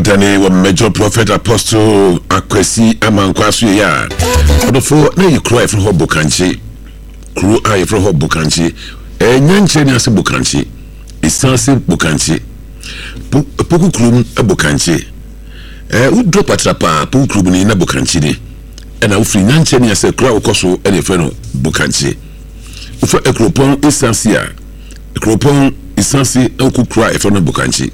Adane wɔ Major Prophet Apostle Akwasi Amankwa so yɛ a ɔdɔfo na yɛ kuro a yɛfrɛ hɔ Bokankye kuro a yɛfrɛ hɔ Bokankye ɛnya nkyerɛ ne ase Bokankye ɛsan ase Bokankye Poku kurom Bokankye ɛɛ woduro patra paa Poku kurom ni na Bokankye ni ɛna wofiri nyankyerɛ ne ase kuro a wokɔ so ɛna yɛfrɛ no Bokankye wofa akuropɔn ɛsan ase a kuropɔn ɛsan ase na wokɔ kuro a yɛfrɛ no Bokankye.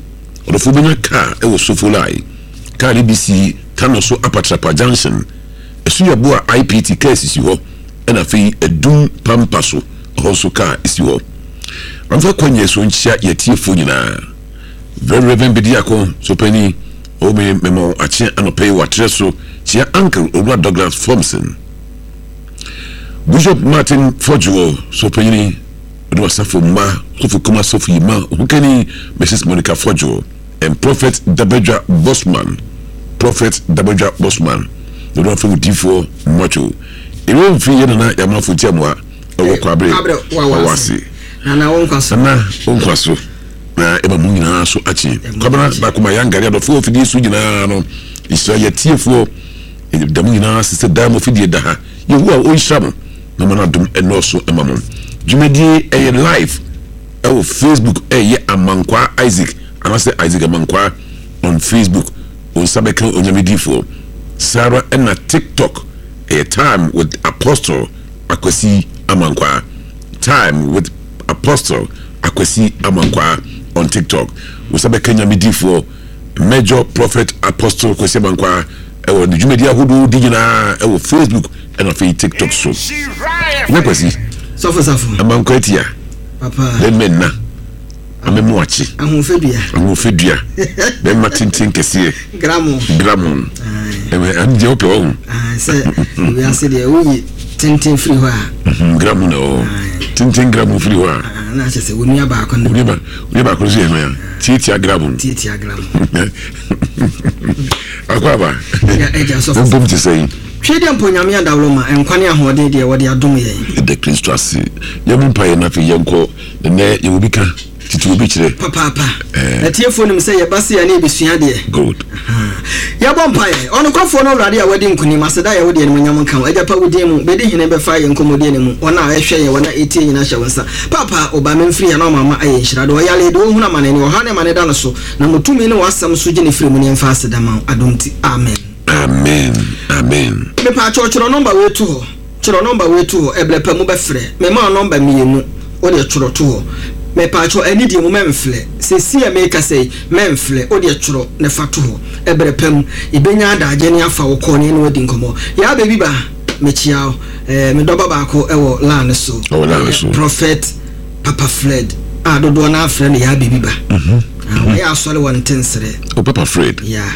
Ɔdɔfo bɛnya kaa wɔ Sofolai. Kaa no bi si Tano so Apatrapa junction. Ɛso yɛ bo a IPT kaa sisi hɔ ɛna afei Adum Pampa so ɛhɔ nso kaa si hɔ. Mamfa kwanyɛ so nkyia yɛ atiefoɔ nyinaa. Very Rev. Bediako Sopanin o me mema wo akye anɔpa yi wɔ aterɛ so kyia Uncle Owura Douglas Fomson. Bishop Martin Fodjour Sopanyini. Ɔde w'asafo mma, Sɔfo Kuma Sɔfo Yima, Ohukani Mrs Monica Fodjo, and Prophet Dabadwa Bosman, Prophet Dabadwa Bosman, na ɔde w'afam difoɔ Mmacho. Ewura mfiri yɛ Nana Yamafo Ntiamoa ɛwɔ Kwabre Wawase. Nana wo nkwa so. Nana wo nkwa so. Na ɛma mo nyinaa so akye. Kwabena Bakoma Yangari adɔfoɔ afidie so nyinaa no, nhyira yɛ atiefoɔ da mo nyinaa ase sɛ daa mo afidie da ha. Yehowa ɔnhyira mo. Na ma n'adom nnɔɔso mma mo. Dwumadie ɛyɛ live ɛwɔ Facebook ɛyɛ Amankwaa Isaac anaasɛ Isaac Amankwaa on Facebook wo nsa bɛka Onyame difoɔ. Saa ara ɛna TikTok ɛyɛ Time with Apostle Akwasi Amankwaa Time with Apostle Akwasi Amankwaa on TikTok wo nsa bɛka Nyame difoɔ Major Prophet Apostle Kwasi Amankwaa ɛwɔ ne dwumadi ahodoɔ di nyinaa ɛwɔ Facebook ɛna afei TikTok so. Nyɛ Kwasi. Sɔfo safo. Amankwa atia. Papa. Bɛmɛ nna. Amemo akye. Ahoɔfɛdua. Ahoɔfɛdua. Bɛma tenten kɛseɛ. Gramo. Gramo. Ɛmɛ ɛn deɛ wopɛ ɔho. Sɛ wiase deɛ woyi tenten firi hɔ a. Mhm, gramo na ɔwɔ. Tenten gramo firi hɔ a. Na akyɛ sɛ onua baako no. Onua baako no so yɛ hwan a? Tiatia gramo. Tiatia gramo. Akɔ aba. Wompom te sɛn? Twe dɛ mpo Nyame adaworo ma nkwa ne ahoɔden deɛ wɔde adom yɛn. Yɛda Kristo ase. Yɛmmɔ mpaeɛ na afei yɛnkɔ. Nnɛ yɛwɔ bi ka, tete obi kyerɛ. Papaapa. Atiefoɔ nim sɛ yɛba sei a na yɛbɛsua adeɛ. Good. Yɛbɔ mpaeɛ. Ɔnokwafoɔ ne Ɔwurade a wadi nkonim, aseda yɛ wo deɛ, animuonyam nka wo. Agya pa wo din mu, bɛdi hene bɛfa yɛn nkɔmmɔdie no mu. Wɔn a ɛhwɛ yɛn, wɔn a ɛtie nyinaa hyɛ wo nsa. Paapa, wo ba memfiri ha na wama ayɛ nhyira. Deɛ ɔyare, deɛ ɔhunu amane, ne ɔhaw ne amane da no so. Na mo tumi ne w'asɛm so gye no firi mu ne yɛmfa aseda ma wo. Adom nti, amen. Amen amen. Mepaakyɛw twerɛ nɔmba wei to hɔ, twerɛ nɔmba wei to hɔ, ɛbrɛ pa mu bɛfrɛ, mema wo nɔmba mienu, wodeɛ twerɛ to hɔ, mepaakyɛw anidie mu mɛnfrɛ, seesei a meekasa yi mɛnfrɛ, wodeɛ twerɛ na fa to hɔ, ɛbrɛ pa mu yɛbɛnya adagye ne afa wo call ne yɛne wo adi nkɔmmɔ. Yaa baby ba, mekyea wo, eh, me dɔba baako wɔ line no so, ɛyɛ Prophet Papa Fred a dodoɔ no ara frɛ no Yaa baby ba, ah, wayɛ asɔre wɔ Ntensere. Oh, Papa Fred. Yeah.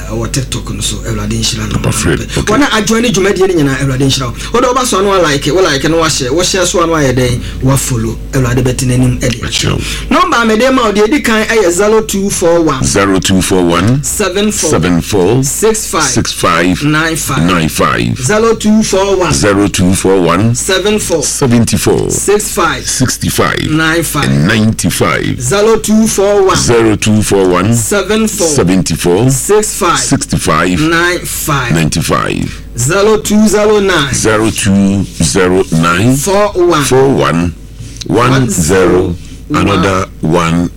Ɔwɔ tiktok no so awurade nhyira no. Papa Fred, okay. Wɔn a ajoin ne dwumadie no nyinaa awurade nhyira wo. Wode woba so ano a like, wo like no wahyɛ, wo share so ano ayɛ dɛn wa follow. Awurade bɛte n'anim de akyerɛ wo. Nɔmba a mede ma wo deɛ edi kan yɛ 0241. 0241. 74. 74. 65. 65. 95. 95. 0241. 0241. 74. 74. 65. 65. 95. 95. 0241. 0241. 74. 74. 65. 65. 95. 95. 0209. 0209. 41. 41. 10. Another 10.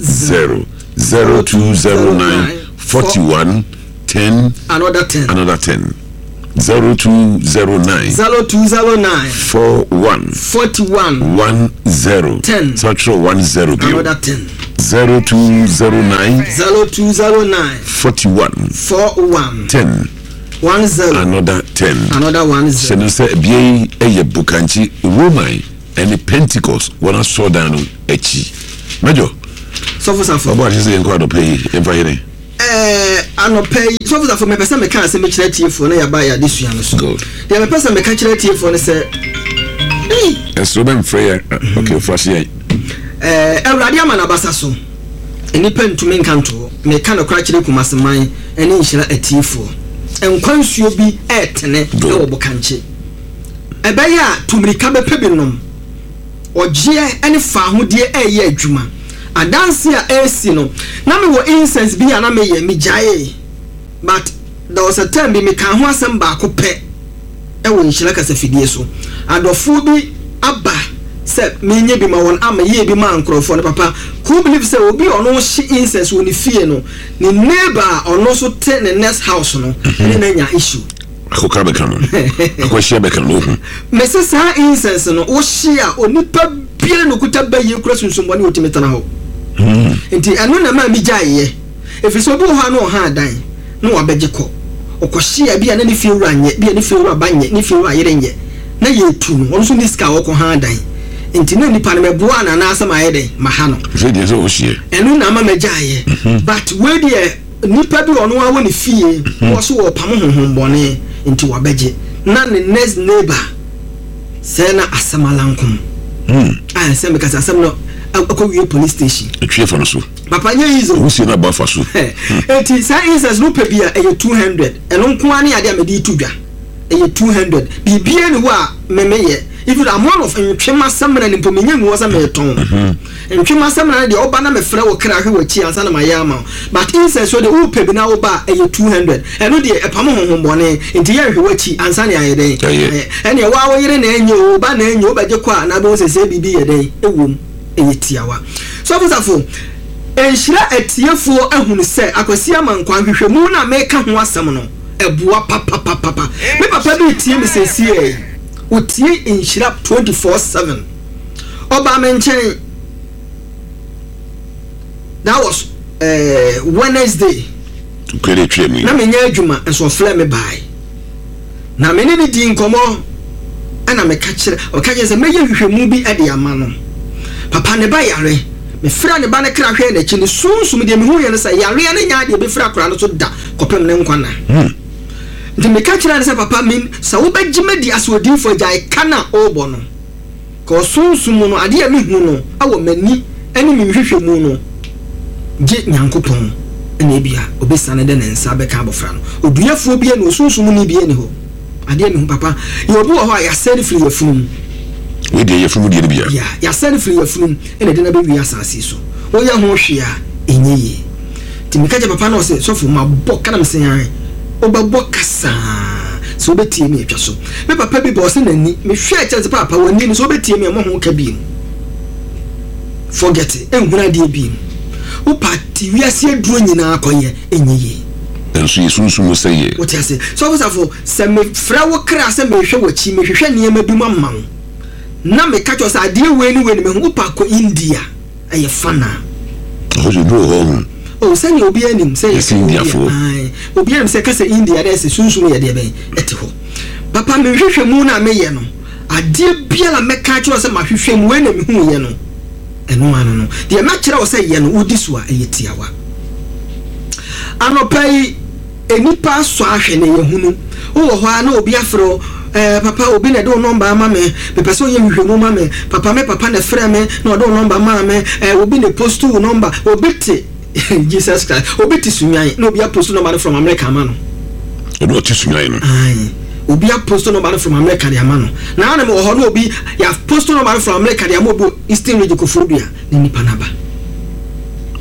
0209. 41. 10. Another 10. Another 10. 0209. 0209. 41. 41. 10. 10. So twerɛ 10 bio. Another 10. 0209. 0209. 41. 41. 10. 10. Another 10. Another 10. Hyɛ no sɛ bea yi yɛ Bokankye Roman ne Pentecost wɔn asɔrdan no akyi. Major. Sɔfo Safo. Ɔbɔ ahyɛ sɛ yɛnkɔ anɔpa yi yɛmfa hene. Ɛɛ anɔpa yi Sɔfo Safo mepɛ sɛ meka asɛm bi kyerɛ atiefoɔ na yɛaba yɛ adesua no so. Good. Deɛ mepɛ sɛ meka kyerɛ atiefoɔ no sɛ. Ei. Ɛsoro bɛmfrɛ yɛn. Okay, fa hyɛ yɛn. Ɛɛ Awurade ama n'abasa so. Nnipa ntumi nka nto hɔ. Meka nokorɛ akyerɛ Kumasi man ne Nhyira atiefoɔ. Nkwa nsuo bi retene wɔ Bokankye. Ɛbɛyɛ a tu mmirika bɛpɛ bi nom. Ɔgyeɛ ne faahodie reyɛ adwuma. Adanse a ɛresi no, na mewɔ incense bi a na meyɛ, megyaee. But there was a time bi mekaa ho asɛm baako pɛ wɔ Nhyira kasafidie so. Adɔfoɔ bi aba sɛ menyɛ bi ma wɔn a meyɛɛ bi maa nkorɔfoɔ no papa. Could you believe sɛ obi a ɔno hye incense wɔ ne fie no, ne neighbor a ɔno nso te ne next house no ne no anya issue. Akokora bɛka no, akwahyia bɛka no, ohu. Mese saa incense no wohye a onipa biara na okuta bayie kura sunsum bɔne a otumi tena hɔ. Nti ɛno na ɛmaa megyaeɛ. Ɛfiri sɛ obi wɔ hɔ a na ɔha adan na wabɛgye kɔ. Ɔkɔhye a ebia na ne fiewura nyɛ, ebia ne fiewura ba nyɛ, ne fiewura yere nyɛ. Na yɛretu no, ɔno nso nni sika a ɔkɔ ha adan. Nti na nipa no mɛboa no anaasɛ mayɛ dɛn? Maha no. Afei deɛ sɛ ɔhyeɛ. Ɛno na ama magyaeɛ. But wei deɛ nipa bi ɔno ara wɔ ne fie na ɔso ɔrepamo honhommɔne nti wabɛgye. Na ne next neighbor sɛɛ na asɛm alankom. A sɛ meka sɛ asɛm no akɔwie police station. Atwi afa no so. Papa nyɛ easy o. Wusie no abɔ afa so. Enti saa incense no wopɛ bi a ɛyɛ 200. Ɛno nko ara ne adeɛ a mede reto dwa. Ɛyɛ 200. Biribiara nni hɔ a me meyɛ. Even amount of ntwema samina no mpo menya ngu hɔ sɛ meretɔn. Ntwema samina no deɛ woba na mefrɛ wo kra hwɛ w'akyi ansa na mayɛ ama wo. But incense deɛ wopɛ bi na woba a ɛyɛ 200. Ɛno deɛ ɛpamo honhommɔne nti yɛnhwɛ w'akyi ansa na yɛayɛ dɛn? Ayɛ. Ɛnneɛ wo ara wo yere na ɛnyɛ o, wo ba na ɛnyɛ o, wobɛgye kɔ a na wobɛhu sɛ sɛɛ biribi yɛ dɛn? Ɛwom. Ɛyɛ tiawa. Sɔfo Safo, nhyira atiefoɔ ahunu sɛ Akwasi Amankwaa nhwehwɛmu no a meka ho asɛm no, ɛboa papapapapa. Me papa bi retie me seesei yi. Ɔtie nhyira 24/7. Ɔbaa me nkyɛn, that was eh, Wednesday. Na menyɛ adwuma, nso ɔfrɛɛ me bae. Na me ne no dii nkɔmmɔ, ɛna meka kyerɛ, ɔka kyerɛ sɛ mɛyɛ nhwehwɛmu bi de ama no. Papa, ne ba yare. Mefrɛɛ ne ba no kra hwɛɛ n'akyi no, sunsum deɛ mehuiɛ no sɛ yareɛ no nyɛ adeɛ ɛbɛfiri akwadaa no so da kɔpem ne nkwa nna. Nti meka kyerɛɛ no sɛ, Papa, me, sɛ wobɛgye me adi asɛ odiyifoɔ agyae ka no a worebɔ no. Kɔ sunsum mu no, adeɛ a mehu no wɔ m'ani ne me nhwehwɛmu no gye Nyankopɔn na ebia obesiane de ne nsa bɛka abɔfra no. Oduafoɔ biara nni hɔ, sunsum ni biara nni hɔ. Adeɛ a mehu papa, yɛ obi wɔ hɔ a yɛasɛe no firi yafunu mu. Wei deɛ yafunu mu deɛ no bia. Yeah, yɛasɛe no firi yafunu mu na ɛde no abɛwie asase yi so. Woyɛ ho hwee a, ɛnyɛ yie. Nti meka kyerɛ papa no ɔse, sɔfo mabɔ ka na mese ae, wobɛbɔ ka saa sɛ wobɛtie me atwa so. Me papa bi ba ɔse n'ani, mehwɛɛ kyerɛ no sɛ paapa w'ani no sɛ wobɛtie me a mmɔ ho ka biom. Forget it, ɛnhunu adeɛ biom. Wopa te wiase aduro nyinaa kɔyɛ, ɛnyɛ yie. Nanso yɛ sunsum mu sɛeɛ. Wote ase? Sɔfo Safo, sɛ mefrɛ wo kra sɛ merehwɛ w'akyi, mehwehwɛ nneɛma bi mu ama wo, na meka kyerɛ wo sɛ adeɛ wei ne wei na mahu, wopa kɔ India. Ɛyɛ fun a. Ɛhɔ deɛ obi wɔ hɔ ɔhu. Oh sɛnea obiara nim sɛ yɛsɛ Indiafoɔ. Ae obiara nim sɛ kasa India na ɛsɛ sunsum yɛ deɛ bɛn ɛte hɔ. Papa me nhwehwɛ mu no a meyɛ no adeɛ biara a mɛka akyerɛ wo sɛ mahwehwɛ mu wei na mehuuiɛ no ɛno ano no deɛ mɛkyerɛ wo sɛ yɛ no wodi so a ɛyɛ tiawa. Anɔpa yi. Nnipa asɔ ahwɛ na yɛahunu. Wowɔ hɔ ara na obi afrɛ wo, Ɛɛ, papa, obi na ɛde wo nɔmba ama me. Mepɛ sɛ woyɛ nhwehwɛmu ma me. Papa, me papa na ɛfrɛɛ me na ɔde wo nɔmba maa me. Ɛɛ, obi na ɛpostu wo nɔmba. Obi te, Jesus Christ, obi te Sunyani na obi apostu nɔmba no from America ama no. Ɔno ɔte Sunyani no? Ae. Obi apostu nɔmba no from America de ama no. Na na mewɔ hɔ na obi, yɛapostu nɔmba no from America de ama obi wɔ Eastern Region, Koforidua. Na nipa no aba.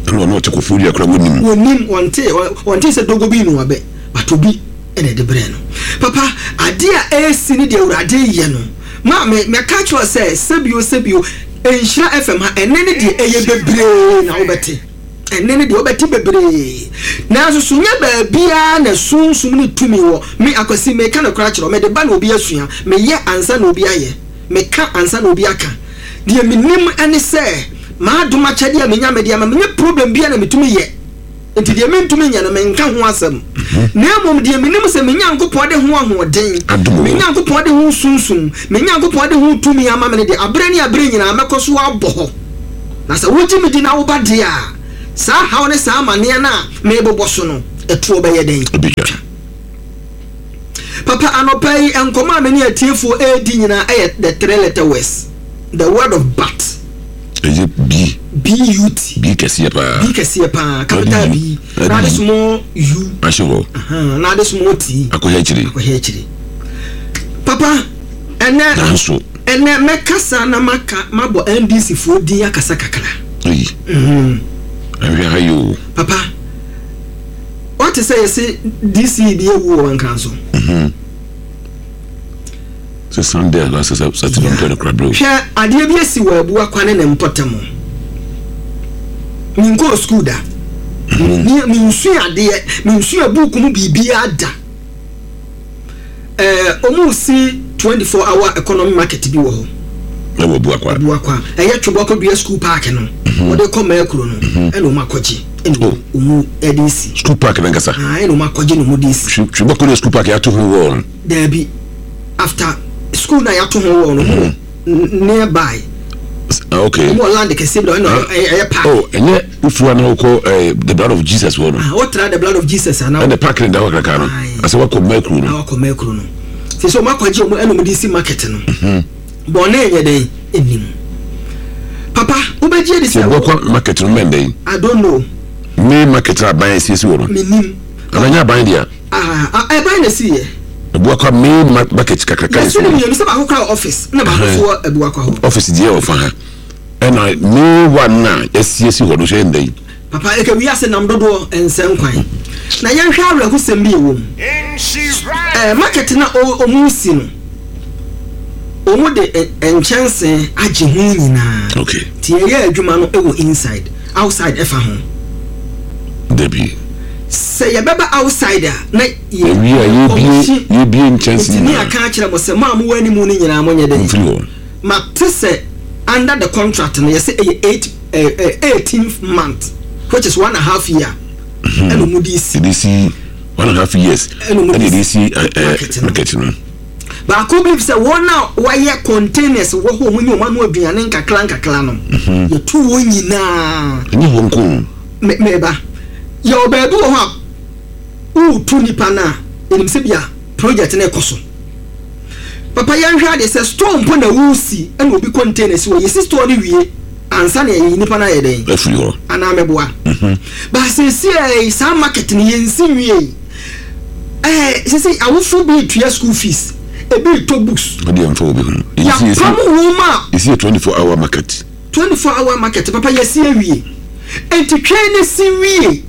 Ɛna ɔno ɔte Koforidua koraa wɔnim. Wɔnim, wɔnte, wɔnte sɛ dogo bi nua bɛ, but obi na ɛde brɛɛ no. Papa, adeɛ a ɛresi ne deɛ Awurade reyɛ no, maame, mɛka akyerɛ wo sɛ, sɛbio, sɛbio, Nhyira FM ha, ɛnnɛ ne deɛ ɛyɛ bebree na wobɛte. Ɛnnɛ ne deɛ wobɛte bebree. Nanso so nyɛ baabiara na sunsum ne tumi wɔ. Me, Akwasi, meka nokorɛ akyerɛ wo, mede ba na obi asua, meyɛ ansa na obi ayɛ, meka ansa na obi aka. Deɛ menim ne sɛ m'adom akyɛdeɛ a menya mede ama menyɛ problem biara na metumi yɛ nti deɛ mentumi nyɛ no menka ho asɛm na mmom deɛ menim sɛ me Nyankopɔn de ho ahoɔden, me Nyankopɔn de ho sunsum, me Nyankopɔn de ho tumi ama me no deɛ aberɛ ne aberɛ nyinaa mɛkɔ so abɔ hɔ. Na sɛ wogye me di na woba deɛ a, saa haw ne saa amaneɛ no a merebobɔ so no ɛtoɔ bɛyɛ dɛn? Ɛbɛtwa. Papa, anɔpa yi, nkɔmmɔ a me ne atiefoɔ redi nyinaa yɛ the three letter words, the word of but. Ɛyɛ B. B-U-T. B kɛseɛ paa. B kɛseɛ paa, capital B. Na ade small U. Ahyɛ hɔ. Na ade small T. Akɔhɛ akyire. Akɔhɛ akyire. Papa, ɛnɛ. Nanso. Ɛnɛ mɛkasa na maka mabɔ NDC foɔ din akasa kakra. Eyi. Mhm. Ahwɛ ha yi o. Papa, wate sɛ yɛse DC bi awu wɔ Nkran so. Mhm. Sɛ Sunday anaasɛ Saturday mpɛ no kora berɛ o. Hwɛ adeɛ bi asi wɔ Abuakwa ne ne mpɔtam. Menkɔɔ sukuu da. Mhm. Mensua adeɛ, mensua buuku mu biribiara da. Ɛɛ wɔn resi 24 hour economy market bi wɔ hɔ. Ɛwɔ Abuakwa. Abuakwa. Ɛyɛ Twebo akɔdua school park no. Mhm. Wɔde kɔ Mɛkuro no. Mhm. Ɛna wɔn akɔgye. Ɛna oh. wɔn ɛde si. School park nankasa. Ah, ɛna wɔn akɔgye na wɔn de si. Twebo akɔdua school park yɛato ho wɔ no. Daabi after school na yɛato ho wɔ no. Mhm. Nearby. Ah, okay. Wɔn wɔ land kɛseɛ bi na ɛna ah. ɛyɛ park. Oh, ɛnyɛ wofu ana wokɔ eh, the blood of Jesus wɔ no. Ah, wotra the blood of Jesus ana. Ɛna park ne da hɔ kakra no. Asɛ wakɔ mɛkuro no. Wakɔ mɛkuro no. Sɛ sɛ wɔn akɔgye wɔn ɛna wɔn de si market no. Mhm. Bɔnne nyɛ dɛn enim. Papa, wobɛgye adi sɛ. Sɛ bɔkɔ market no mɛn dɛn. I don't know. Me market na aban asiesie wɔ no. Menim. Ananyɛ aban deɛ. Ah, ɛban na esi yɛ. Abuakwa main market kakraka yɛsi no mmienu sɛ baako kora office na baako nso wɔ Abuakwa hɔ. Office deɛ wɔ fa ha ɛna main one na yɛsiesie hɔ no nso yɛ ndɛ yi. Papa ɛka wiase nam dodoɔ ɛnsɛ nkwan na yɛnhwɛ awerɛhosɛm bi ɛwɔ mu ɛɛ market na ɔmu si no ɔmu de nkyɛnse agye ho nyinaa okay. Ti yɛyɛ adwuma no ɛwɔ inside outside ɛfa ho. Dabi. Sɛ yɛbɛba outside a na Yɛwie a, yɛbue, yɛbue nkyɛnse Metumi nyinaa. aka akyerɛ mo sɛ, mo a mowɔ anim no nyinaa monyɛ dɛn? Momfiri hɔ. Mate sɛ under the contract no yɛsɛ ɛyɛ eight eh, eh, eighteenth month which is one and a half year ɛna wɔn de si. Yɛde si one and a half years ɛna wɔn ɛna de yɛde si si eh, eh, market no. market no. Baako believe sɛ wɔn a wɔayɛ containers wɔ hɔ a wɔnyɛ wɔn ano aduane nkakra nkakra no yɛtu wɔn nyinaa. Ɛnyɛ hɔ nko o. Me meba yɛwɔ baabi wɔ hɔ a woretu nipa no a, yɛnim sɛ bia project no rekɔ so. Papa yɛnhwɛ adeɛ sɛ store mpo na woresi ɛna obi container si hɔ, yɛsi store no wie ansa na yɛyi nipa no ayɛ dɛn? Afiri hɔ. Anaa meboa? Mhm. Ba seesei saa market no yɛnsi nwiei. Ɛɛ seesei awofo bi retua school fees, ebi retɔ books. Ɔdeɛ mfa obi ho. Yɛapam wɔn a. Yɛsi yɛ 24 hour market. 24 hour market papa yɛsi awie. Enti twɛn na si wie.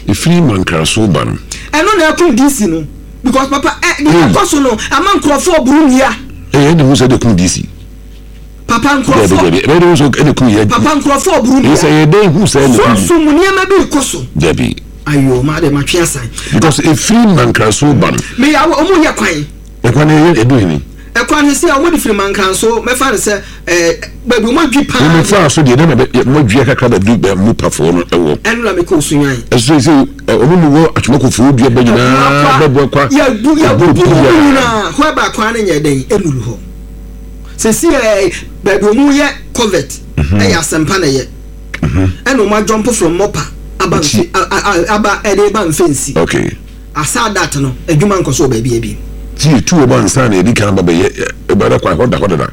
Ɛfiri Mankraso ba no. Ɛno na ɛkum DC no because papa ɛ deɛ ɛkɔ so no ama nkurɔfoɔ boro nnua. Ɛyɛ ɛde hu sɛ ɛde kum DC. Papa nkurɔfoɔ. Dɛbi dɛbi ɛbɛyɛ de hu sɛ ɛde kum yɛ. Papa nkurɔfoɔ boro nnua. Sɛ yɛ dɛ hu sɛ ɛde kum. Sunsun mu nneɛma bi rekɔ so. Dɛbi. Ayo maa de ma twe asan. Because ɛfiri Mankraso ba no. Meyɛ awɔ ɔmo yɛ kwan. Ɛkwan no ɛyɛ ɛdu hene. Ɛkwan no sɛ ɔmo de firi Mankranso mɛfa no sɛ ɛɛ baabi ɔmo adwi paa. Mo faa so deɛ na bɛ mo adwi kakra bɛ du bɛ mo pafoɔ no ɛwɔ. Ɛno na mekɔ Osunyan. Ɛso sɛ ɔmo mu wɔ atwemakofoɔ dua bɛ nyinaa bɛ bɔ kwa. Yɛbu yɛbubu ɔmo nyinaa hɔ ɛba kwan no nyɛ dɛn ɛnuru hɔ. Sɛsi ɛɛ baabi ɔmo yɛ covert ɛyɛ asɛmpa na ɛyɛ. Ɛna ɔmo adwɔmpo from mɔpa aba nfe aba ɛde ba mfɛnsi. Okay. Asa dat no, adwuma nkɔ so wɔ baabiara bio. Ti yɛtu wɔn ansa na yɛdi kan aba bɛyɛ ɛba da kwan hɔ da hɔ dada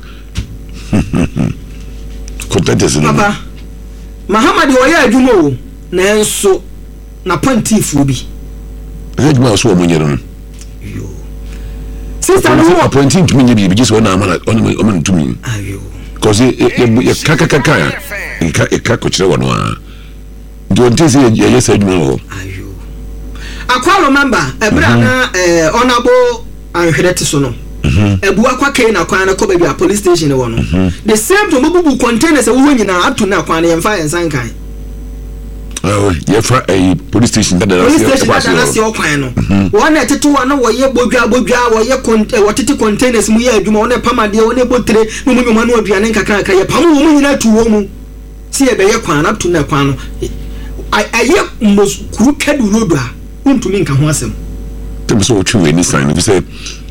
contenters no. Papa, Mahama deɛ ɔyɛ adwuma o, nanso n'apɔntiifoɔ bi. Ɛsɛ adwuma a ɔso wɔn nyɛ no no. Yoo. Sista no wɔ. Apɔnti ntumi nyɛ biribi gye sɛ ɔna ama na ɔna ɔma no tumi. Ayo. Kɔsi yɛ yɛ kakakaka a yɛka yɛka kɔkyerɛ wɔn a. Nti ɔnte sɛ yɛyɛ saa adwuma wɔ hɔ. Ayo. Akwa remember ɛberɛ a na eh, Honourable Anhwerɛ te so no. Abu Akwa Kane akwan no kɔ baabi a police station wɔ no. The same thing wɔbubu containers ɛwɔ hɔ nyinaa up to now kwan no yɛmfa yɛn nsa nkan. Yɛfa ɛyi police station dada police station dada n'ase ɔkwan no. Wɔn na ɛtete hɔ na wɔyɛ bodwa bodwa wɔyɛ kɔn wɔtete containers mu yɛ adwuma wɔn na ɛpam adeɛ wɔn na ɛbɔ tire na wɔn nyɛ wɔn ano aduane nkakrakra yɛpam wɔn nyinaa tu wɔn mu. Sɛ yɛbɛyɛ kwan no up to now kwan no ayɛ most crooked road a wontumi nka ho asɛm. Tɛm sɛ ɔtwe w'ani san no sɛ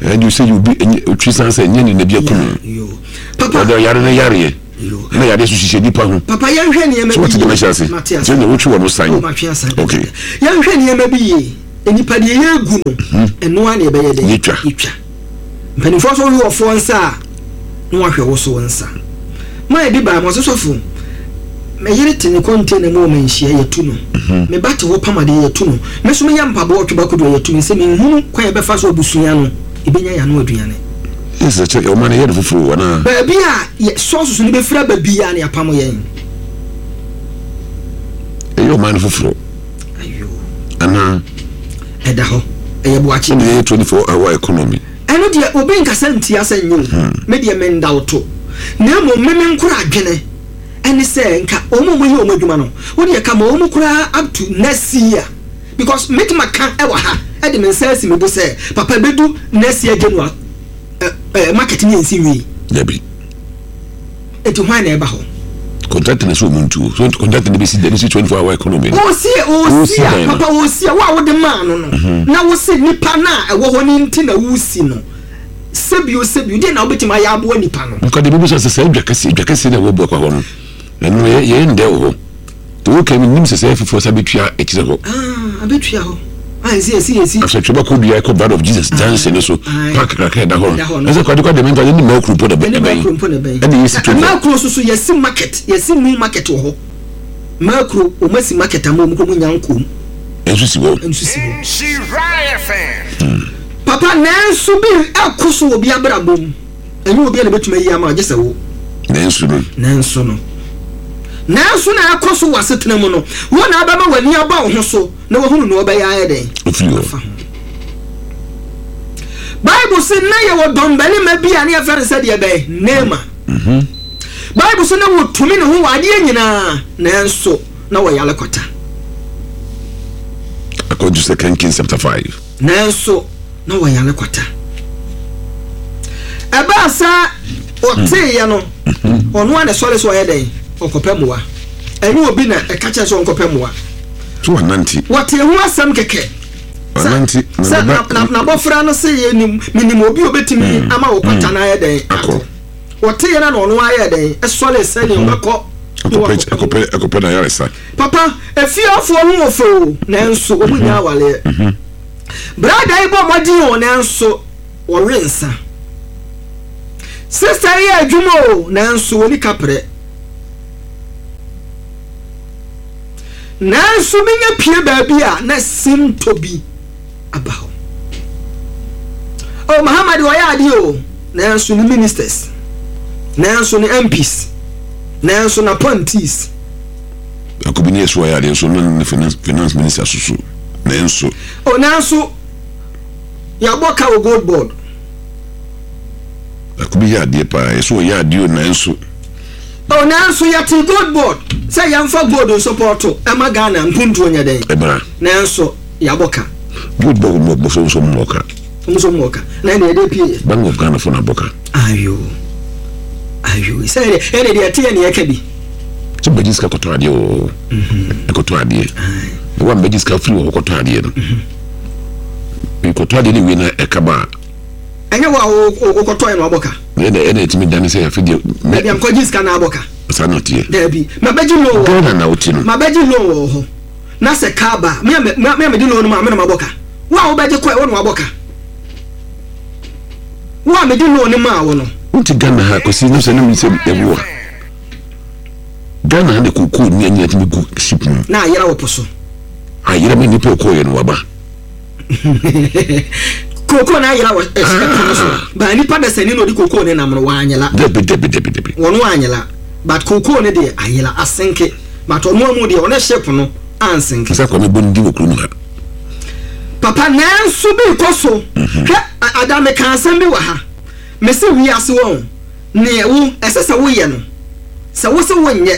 ɛde sɛ obi ɔtwe san sɛ nyɛ ne na bi akum no. Papa ɔde ɔyare no yareɛ na yareɛ so hyehyɛ nipa ho. Papa yɛnhwɛ nneɛma bi yie. So wɔte dɛm ahyɛ ase. Sɛ na wotwe wɔn san. Oh matwe asan. Okay. Yɛnhwɛ nneɛma bi yie. Nipa deɛ yɛgu no ɛno ara na yɛbɛyɛ dɛ. Yɛtwa. Yɛtwa. Mpanimfoɔ nso wohwɛ wɔfoɔ nsa a, na wahwɛ wo so wo nsa. Man bi baa mu, ɔse sɔfo, me yere te ne container mu wɔ manhyia, yɛtu no. Me ba te hɔ pam adeɛ, yɛtu no. Me nso meyɛ mpaboa ɔtwe ba kodoɔ, yɛtu me. Sɛ menhunu kwan a yɛbɛfa so abusua no, yɛbɛnya yɛn ano aduane. Yes, ɛkyɛ ɔma no yɛ no foforɔ anaa? Baabi a yɛ sɔɔso no bɛfiri aba biara no yɛapamo yɛn. Ɛyɛ ɔman no foforɔ. Anaa. Ɛda hɔ. Ɛyɛ boakye. Ɛna ɛyɛ 24 hour economy. Ɛno deɛ obi nkasa ntia sɛ nyɛ o. Me deɛ menda wo to. Na mmom me me nkora adwene ɛne sɛ nka wɔn a wɔyɛ wɔn adwuma no, wo deɛ ka ma wɔn koraa up to next year. Because mɛtumi aka ɛwɔ ha ɛde me nsa asi me bo sɛ papa ɛbɛdu next year January ɛ ɛ market no yɛnsi nwie. Dabi. Eti hwan na ɛba hɔ? Contractor na sɛ ɔmu ntuo. So contractor na bɛsi bɛsi 24 hour economy no. Ɔsi ɔsi a papa ɔsi a wo a wode maa no no mhm. na wo se nipa no a ɛwɔ hɔ no nti na wosi no sɛbio sɛbio deɛ na wobɛtumi ayɛ aboa nipa no. Nka deɛ bɛbisa sɛ saa dwa kɛseɛ dwa kɛseɛ na ɛwɔ Buakwa hɔ no ɛno yɛyɛ ndɛ wɔ hɔ. Deɛ woka yi mennim sɛ sɛ foforɔ sa bɛtua akyire hɔ. Ah, abɛtua hɔ. Ah, ɛsi ɛsi ɛsi. Afei twɛba kɔ dua kɔ Blood of Jesus junction no so park kakra ɛda hɔ no. Ɛsɛ kwade kwade mɛnta ɛne mmaa mpo na bɛn. Ɛne mmaa mpo na bɛn. Ɛne yɛsi twɛba. Mmaa kuro soso yɛsi market yɛsi new market wɔ hɔ. Mmaa kuro wɔn asi market ama wɔn kɔ mu nya nkom. Ɛnso si hɔ. Ɛnso si hɔ. Papa nanso bi ɛkɔ so wɔ bi abrabɔ mu. Ɛnyɛ obiara na ebetumi ayi ama wo, gye sɛ wo. Nanso no. Nanso no. Nanso na ɛkɔ so wɔ asetena mu no, wo na abɛma w'ani aba wo ho so na wahunu nea ɔbɛyɛ ayɛ dɛn? Ofiri hɔ. Afa ho. Bible se na yɛwɔ dɔmbarima bi a ne yɛfrɛ no sɛ deɛ bɛn? Naaman. Mhm. Bible se na wɔtumi ne ho wɔ adeɛ nyinaa, nanso na wɔyare kwata. According to Second Kings chapter 5. Nanso na wɔyare kwata. Ɛbaa sɛ ɔteeɛ no, ɔno ara na ɛsɔre sɛ ɔyɛ dɛn? Ɔkɔpɛ mmoa. Ɛnyɛ obi na ɛka kyerɛ sɛ ɔnkɔpɛ mmoa. So wanante? Wɔtee ho asɛm kɛkɛ. Wanante. Sɛ n'abɔfra no se yɛnim, menim obi a obetumi hmm. ama wo kwata hmm. no ayɛ dɛn? Akɔ. Wɔteeɛ no na ɔno ara yɛ dɛn? Ɛsɔre sɛnea hmm. ɔbɛkɔ. Akɔpɛ akɔpɛ n'ayaresa. Papa, efiefoɔ ho wɔ fɛ o, nanso wɔn nyɛ awaleɛ. Brada yi bɔ mmɔden o, nanso wɔwe nsa. Sista yi yɛ adwuma o, nanso wɔni kaprɛ. Nanso menya pie baabi a na sintɔ bi aba hɔ. Oh, Mahama deɛ ɔyɛ adeɛ o, nanso ne ministers, nanso ne MPs, nanso n'appointees. Akobi ne yɛ so ɔyɛ adeɛ nso na ne finance finance minister soso nanso. Oh, nanso yɛabɔ ka wɔ gold board. Akobi yɛ adeɛ paa yɛ so ɔyɛ adeɛ o nanso. Oh, nanso yɛte gold board sɛ yɛmfa gold nsopɔɔto ɛma Ghana mpuntuo nyɛ dɛn. Ɛbra. Nanso yɛabɔ ka. Gold board mo mo so nso mo ka. Mo nso mo ka. Na ɛna ɛde pie yɛ. Bank of Ghana fo na abɔ ka. Ayo. Ayo. Sɛ ɛde ɛde deɛ ɛte yɛ ne yɛka bi. Sɛ mbɛgye sika kɔtɔ adeɛ wɔ hɔ. Ɛkɔtɔ adeɛ. Na wa mbɛgye sika firi wɔ hɔ kɔtɔ adeɛ no. Nkɔtɔ adeɛ no wie na ɛka ba a. Ɛnyɛ wo a wokɔtɔ yɛ na wabɔ ka. Ɛna ɛna ɛtumi dane sɛ afi deɛ. Dabi amkɔgye sika na abɔ ka. Saa na ɔteɛ. Dabi mabɛgye loan wɔ. Ghana na wote no. Mabɛgye loan wɔ hɔ. Na sɛ kaa ba a, me a me a mede loan no maa me na mabɔ ka. Wo a wobɛgye kɔɛ wo na wabɔ ka. Wo a mede loan no maa wo no. Wonte Ghana ha Kwasi na sɛ na mi sɛ ɛwo a. Ghana ha na kookoo nua nyina tumi gu ship mu. Na ayera wɔ po so. Ayera ma nipa ɔkɔɔyɛ no waba. Kookoo na ayera wɔ ɛpo no so. Ba nipa dasani na ɔde kookoo ne nam no wanyela. Dabi dabi dabi dabi. Wɔn wanyela but kookoo ne deɛ ayela asenke but ɔno amu deɛ ɔne ship no ansenke. Sɛ Kwame bɔ ne din wɔ kurom ha. Papa nanso bi kɔ so. Hwɛ ada meka asɛm bi wɔ ha. Mese wiase wɔn. Neɛ wo, ɛsɛ sɛ woyɛ no, sɛ wose wonyɛ,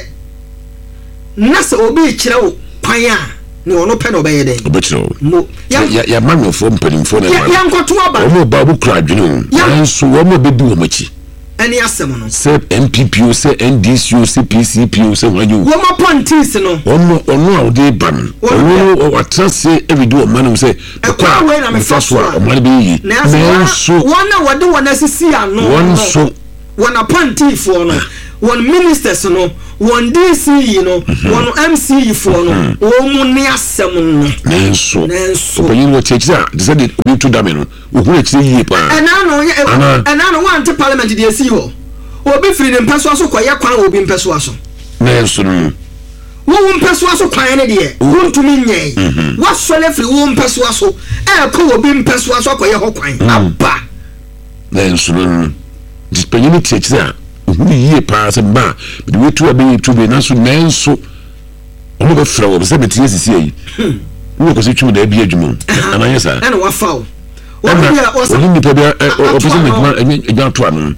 na sɛ obi rekyerɛ wo kwan a, neɛ ɔno pɛ na ɔbɛyɛ dɛn? Ɔbɛkyerɛ wo. Mo, yɛn. Yɛ, yɛ amanyɔfoɔ mpanimfoɔ na ɛma no. Yɛnkɔto aba. Wɔn ba wɔkura adwene o, nanso wɔn a bɛdi wɔn akyi. Ɛne asɛm no. Sɛ NPP o, sɛ NDC o, sɛ PCP o, sɛ hwan o. Wɔn appointees no. Wɔn, ɔno a ɔde ba no, ɔno no, watena ase redi ɔman no mu sɛ. Ɛkwan wei na mefa so a, ɔman no bɛyɛ yie. Nanso wɔn a wɔde wɔn asisi ano no, nso, wɔn apɔntiifoɔ no, wɔn ministers no, wɔn DCE no, wɔn MCE foɔ no, wɔn mu ne asɛm no. Nanso, ɔpanyin no wɔte akyire a, te sɛ deɛ obi to dame no, ohunu akyire yie paa. Ɛna no, ɛna no, wɔante parliament deɛ esii hɔ. Obi firi ne mpɛsoa so kɔyɛ kwan wɔ obi mpɛsoa so. Nanso no. Wo wo mpɛsoa so kwan no deɛ, wontumi nyɛe. Woasɔre afiri wo mpɛsoa so rekɔ obi mpɛsoa so akɔyɛ hɔ kwan. Aba! Nanso no no, nti panyin no te akyire a, ohunu yie paa sɛ mma a, mede wei to a bɛyɛ to wei, nanso nanso, wɔn Obi bɛfrɛ wɔ sɛ mete asisi ayi. Wowɔ kɔsi twem da bi adwuma o. Anaa nyɛ saa. Ɛna wafa o. Ɛna ɔne nipa bi ɔpɛ sɛ n'adwuma adwuma ato ano.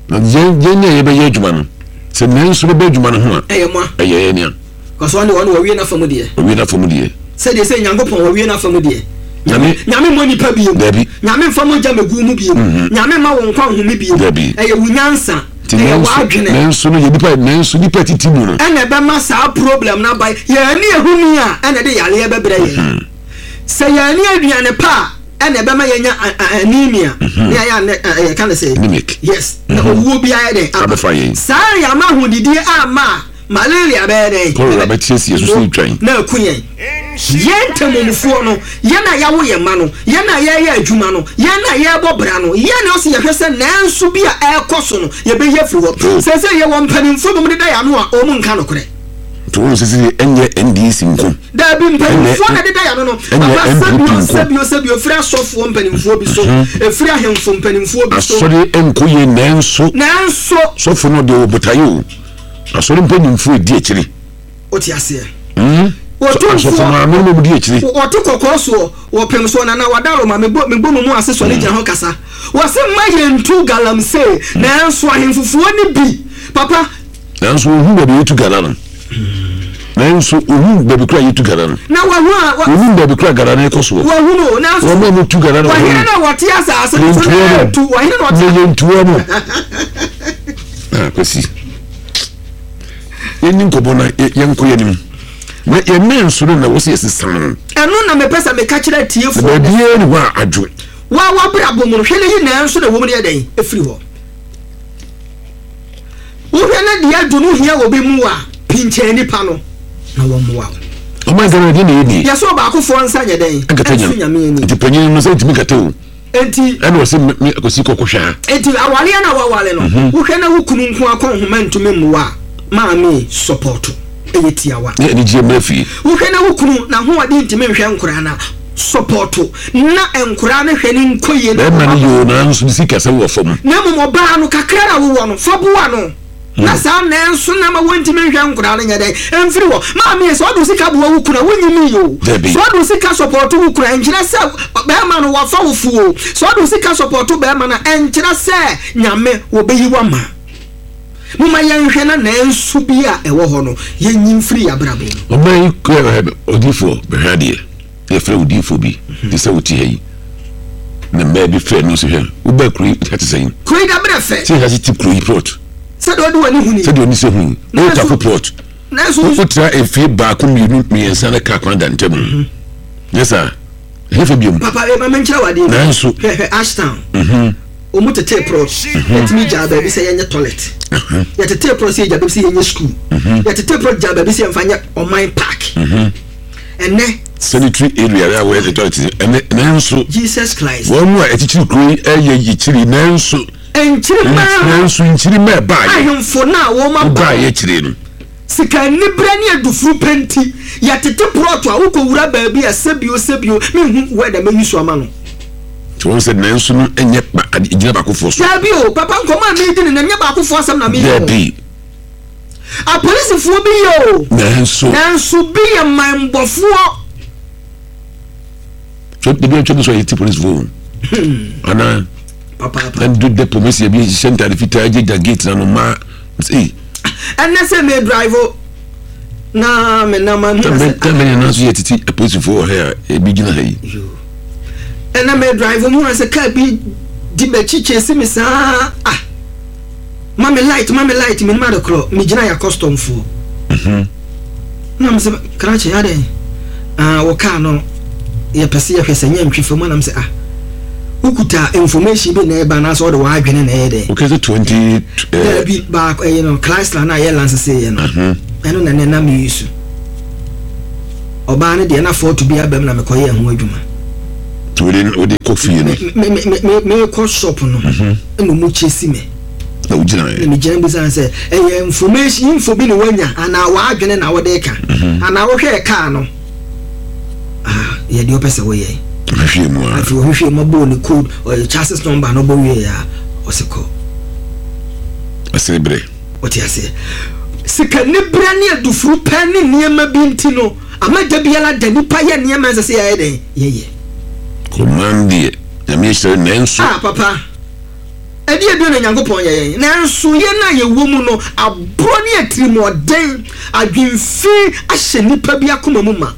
Na yɛn yɛn a yɛbɛyɛ adwuma no, sɛ nanso bɛbɛ adwuma no ho a, ɛyɛ mo a. Ɛyɛ yɛn nea. Kɔsɔ ɔne ɔne wɔwie n'afa mu deɛ. Wɔwie n'afa mu deɛ. Sɛdeɛ sɛ Nyankopɔn wɔwie n'afa mu deɛ. Nyame. Nyame mmɔ nipa biem. Dabi. Nyame mfa mogya megu mu biem. Mhm. Nyame mma wo nkwa nhome biem. Dabi. Ɛyɛ wo nyansa. Nti Ɛyɛ nanso w'adwene. nanso no yɛ nipa nanso nipa titi mu no. Ɛna ɛbɛma saa problem no aba. Yɛn ani ehuni a ɛna ɛde yareɛ bɛbrɛ yɛn. Mhm. Sɛ yɛn ani aduane pa a ɛna ɛbɛma yɛnya anemia. Mhm. Ne ayɛ anɛ yɛka ne sɛ. Anemic. Yes. Na Mhm. owuo bi ayɛ dɛn aba. Abɛfa yɛn. Saa yɛama ahodidie amma a malaria bɛyɛ dɛn? Cholera bɛteaseɛ so sɛ etwan. Na aku yɛn. Yɛn ntamufoɔ no, yɛn a yɛawo yɛn mma no, yɛn a yɛreyɛ adwuma no, yɛn a yɛrebɔ bra no, yɛn na ɔsɛ yɛhwɛ sɛ nanso bi a ɛrekɔ so no, yɛbɛyi afiri hɔ. Oh. Seesei yɛwɔ mpanimfoɔ binom deda yɛn ano a wɔn nka nokorɛ. Nti wɔn sɛ sɛ ɛnyɛ NDC nko. Daabi, mpanimfoɔ na ɛdeda yɛn ano no. Ɛnyɛ Papa, NPP sɛbio, nko. sɛbio, sɛbio, ɛfiri asɔfoɔ mpanimfoɔ bi so, ɛfiri ahemfo mpanimfoɔ bi so. Asɔre nkɔ yie nanso. Nanso. Sɔfo no deɛ ɔwɔ botaeɛ o. Asɔre mpanimfoɔ edi akyire. Wote aseɛ? Hmm? Otumfoɔ. Asɔfo maame no di akyire. Wɔte kɔkɔɔ soɔ, wɔpem soɔ, Nana Wadaroma, mebɔ mebɔ mo mu ase sɔre gyina hɔ kasa. Wɔse mma yɛntu galamsey, nanso ahemfofoɔ no bi, papa. Nanso wɔhu baabi a yɛtu gala no. Nanso wɔhu baabi kora yɛtu gala no. Na wɔhu a. Wɔhu baabi kora gala no kɔ soɔ. Wɔhu no, nanso. Wɔn a wɔtu gala no. Wɔhene na wɔte asase no so na yɛtu. Wɔhene na wɔte. Na yɛntuo no. Ah, Kwasi. Yɛnni nkɔmmɔ na yɛnkɔ yɛn anim. Na yɛn nan nso no na wɔsi yɛsesa no. Ɛno na mepɛ sɛ meka kyerɛ atiefoɔ. Na baabiara ni hɔ a adwo. Wa w'abrabɔ mu no, hwɛ na yi nan nso na ɛwɔ mu no yɛ dɛn efiri hɔ. Wohwɛ na deɛ adwo no hia wɔ bi mu a, pinkyɛn nipa no na wɔmmoa wo. Ɔman Ghana deɛ na yɛ nie. Yɛsɛ ɔbaakofoɔ nsa nyɛ dɛn? Nkata nyame ani. Nti panyin no sɛ ntumi nkata o. Enti. Ɛna ɔse me Akwasi kɔ kɔhwɛ ha. Enti awareɛ no a waware no, wohwɛ na wo kunu nko ara kɔ nhoma ntumi mmoa a, maame sɔpɔɔto. Ɛyɛ tiawa. Ne anigyeɛ mmra fie. Wohwɛ na wo kunu n'ahoɔden ntumi nhwɛ nkoraa no a, sɔpɔɔto na nkoraa no hwɛ no nkɔ yie na Bɛrima no yɛ o nanso ne sikasɛm wɔ fam. Na mmom ɔbaa no, kakra na wowɔ no, fa boa no. Na saa nanso na ma wɔntumi nhwɛ nkwadaa no nyɛ dɛn mfiri hɔ. Maame sɛ ɔde wo sika boa wo kunu a wonyimii o. Dabi. Sɛ ɔde wo sika sɔpɔto wo kunu a ɛnkyerɛ sɛ bɛrima no wafa wo fo o. Sɛ ɔde wo sika sɔpɔto bɛrima no a ɛnkyerɛ sɛ Nyame wɔbɛyi wo ama. Momma yɛnhwɛ na nanso bi a ɛwɔ hɔ no yɛnyi mfiri yɛn abrabɔ mu. Ɔman yi kura odiyifoɔ bɛhwɛ adeɛ. Yɛfrɛ odiyifoɔ bi te sɛ wote ha yi na mmaa bi frɛ no sɛ hwɛ wobaa kuro yi ha te sɛn? Kuro yi dabrɛ fɛ. Sɛ ha te kuro yi plot. Sɛdeɛ ɔde w'ani hu ni. Sɛdeɛ ɔni sɛ hu yi. Wotafo plot. Nanso. Wotra efie baako mmienu mmiɛnsa na kaa kwan da ntam. Mhm. Nyɛ saa. Ɛnyɛ fɛ biom. Papa ma menkyerɛ wo adeɛ bi. Nanso. Hwɛ hwɛ Ashtown. Mhm. Wɔn tetee plot. Yɛtumi gyaa baabi sɛ yɛnyɛ toilet. Yɛtetee plot sɛ yɛgya baabi sɛ yɛnyɛ school. Yɛtetee plot gyaa baabi sɛ yɛmfa nyɛ ɔman park. Ɛnɛ. Sanitary area a wɔyɛ toilet ɛnɛ nanso. Jesus Christ. Wɔn mu a ɛkyekyere kuro yi ɛyɛ yikyiri nanso. Nkyirimma. Nanso nkyirimma ɛbaayɛ. Ahemfo no a wɔn aba. Wobaayɛ kyerɛ no. Sika anibrɛ ne adufuru pɛ nti, yɛtete prɔto a wokɔwura baabi a sɛbio sɛbio menhu word a mɛyi so ama no. Nti wɔn sɛ nanso no nyɛ ba ade gyina baakofoɔ so. Daabi o, papa nkɔmmɔ a meredi no nnɛ nyɛ baakofoɔ asɛm na meredi o. Daabi. Apolisifoɔ bi yɛ o. Nanso. Nanso bi yɛ manbɔfoɔ. So ebi atwa mu sɛ ɔyɛ ti polisifoɔ o. Anaa. Papaapa. Ɛndu depot mesi ebi hyehyɛ ntaade fitaa gyegya gate na no mmaa. Ei. Ɛnɛ sɛ me drive na me nam a. Tɛmɛ nyinaa nso yɛ titi apolisifoɔ wɔ ha a ebi gyina ha yi. Ɛnɛ me drive mu sɛ kaa bi di m'akyi kyesi me saa ah ma me light ma me light menim ade korɔ megyina yɛ customfoɔ. Mhm. Na me sɛ krakye adɛn ah wɔ kaa no yɛpɛ sɛ yɛhwɛ sɛ nyɛ ntwi fam anam sɛ ah wokuta information bi na ɛba anaasɛ ɔde w'adwene na ɛyɛ dɛn. Okay sɛ 20 eh. Daabi baako ɛyɛ no Chrysler na yɛ lanse sɛ yɛ no mhm. ɛno na ɛnɛ na meyi so ɔbaa no deɛ na fɔɔto bi abam na mekɔyɛ ho adwuma. Wode wode kɔ fie no. Me me me mekɔ shop no mhm. ɛna ɔmo kyɛ si me. Na wogyina yɛ. Na megyina bisa no sɛ ɛyɛ information info bi na wanya anaa w'adwene na wode ka mhm. anaa wohwɛɛ kaa no ah yɛ deɛ ɔpɛ sɛ woyɛ. Ɔhwehwɛ mu a. Afei ɔhwehwɛ mu abɔɔ ne code ɔyɛ chassis number no bɔ wie a ɔsɛ kɔ. Ɔsɛ brɛ. Ɔte aseɛ. Sikaniberɛ ne adufurupɛ ne nneɛma bi nti no, ama da biara da nipa yɛ nneɛma ɛnsɛ sɛ yɛyɛ dɛn? Yɛyɛ. Ɔman deɛ, Nyame ahyira no nanso. Ah papa, ɛdeɛ bio na Nyankopɔn yɛ yɛn? Nanso yɛn a yɛwɔ mu no, aborɔ ne atirimuɔden, adwenfi ahyɛ nipa bi akoma mu ma.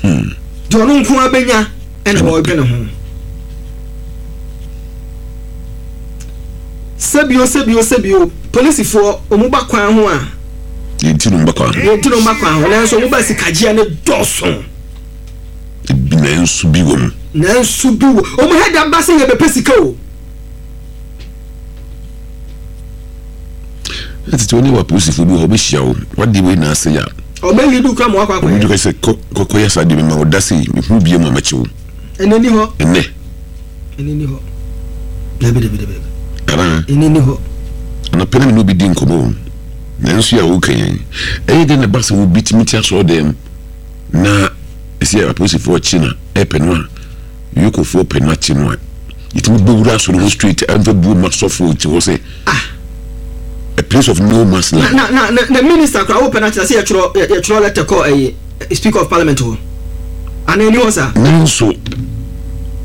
Deɛ ɔno nko ara bɛnya ɛna ɔredwene ho. Sɛbio sɛbio sɛbio, polisifoɔ wɔn ba kwan ho a. Yɛn ti no ba kwan ho. Yɛn ti no ba kwan ho, nanso wɔn ba sikagyeɛ no dɔɔso. Ebi nanso bi wɔ mu. Nanso bi wɔ wɔn hɛ da ba sɛ yɛbɛpɛ sika o. Na tete wɔne wɔ apolisifoɔ bi wɔ hɔ wɔbɛhyia wo wadeɛ wei na ase ya. Ɔbɛ lead kura ma wakɔ akɔyɛ. Ɔmo sɛ kɔ kɔkɔ yɛ saa deɛ mema wo da sei mehu bie mu a mɛkye wo. Ɛnɛ ni hɔ. Ɛnɛ. Ɛnɛ ni hɔ. Dabi dabi dabi. Anaa. Ɛnɛ ni hɔ. Anɔpɛ na me ne obi di nkɔmɔ o. Nanso yɛ a woka yɛn. Ɛyɛ dɛn na ɛba sɛ obi tumi te asɔre dɛm na ɛsɛ apolisifoɔ kye na ɛpɛ no a Yokofoɔ pɛ no akye no a yɛtumi bɔ wura asɔre hɔ straight ɛmfa buo ma sɔfoɔ nti hɔ sɛ ah a place of no man's land. Na na na na minister koraa wopɛ no akyerɛ sɛ yɛtwerɛ yɛtwerɛ letter kɔ ɛyi speaker of parliament hɔ anaa ɛni hɔ saa. Nanso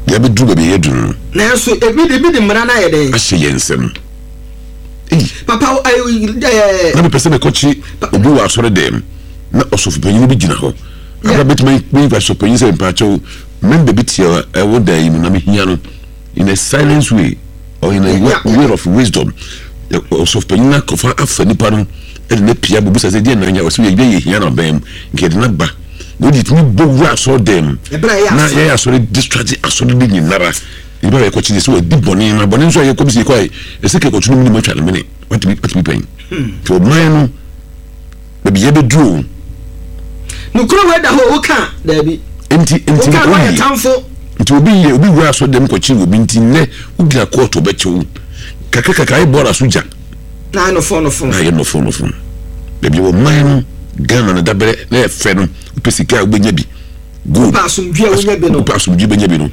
yɛabɛduru baabi a yɛaduru no. Nanso ebi ebi de mmara no ayɛ dɛn. Ahyɛ yɛn nsam. Ei. Papa ɛɛ. Eh, na mepɛ sɛ mekɔkye obi wɔ asɔre dɛm na ɔsɔfopanyin bi gyina hɔ. Abra bɛtumi ayi ɔsɔfopanyin sɛ mpaakyɛw member bi te ɛwɔ dan yi mu na mehia no in a silence way or in a way of wisdom. Ɔsɔfopanyin no akɔfa afa nipa no ɛde no apia bɛbusa sɛ deɛ na anya ɔsɛ yɛ yɛ hia no abɛn mu nka yɛde no aba na wode tumi bɔ wura asɔre dɛm na yɛyɛ asɔre discharge asɔre de nyinara. Nnipa a yɛkɔkye deɛ sɛ wadi bɔne na bɔne nso a yɛkɔ bi sɛ yɛkɔ a ɛsɛ kɛ kɔto no mu ne matwa no mene watumi watumi pɛn nti ɔman no baabi yɛbɛduru o. Nokoro wei da hɔ woka daabi. Nti nti woka no ayɛ tamfo. Nti obi yɛ obi wura asɔ dɛm kɔkye obi nti nnɛ wogyina kɔɔto ɔbɛkye wo kakra kakra ayɛ bɔɔla so gya. Na ayɛ nɔfɔn nɔfɔn. Na ayɛ nɔfɔn nɔfɔn baabi wɔ man no Ghana no dabrɛ na ɛfɛ no wopɛ sika a wobɛnya bi. Gold. Wopɛ asomdwie a wonya bi no. Wopɛ asomdwie bɛnya bi no.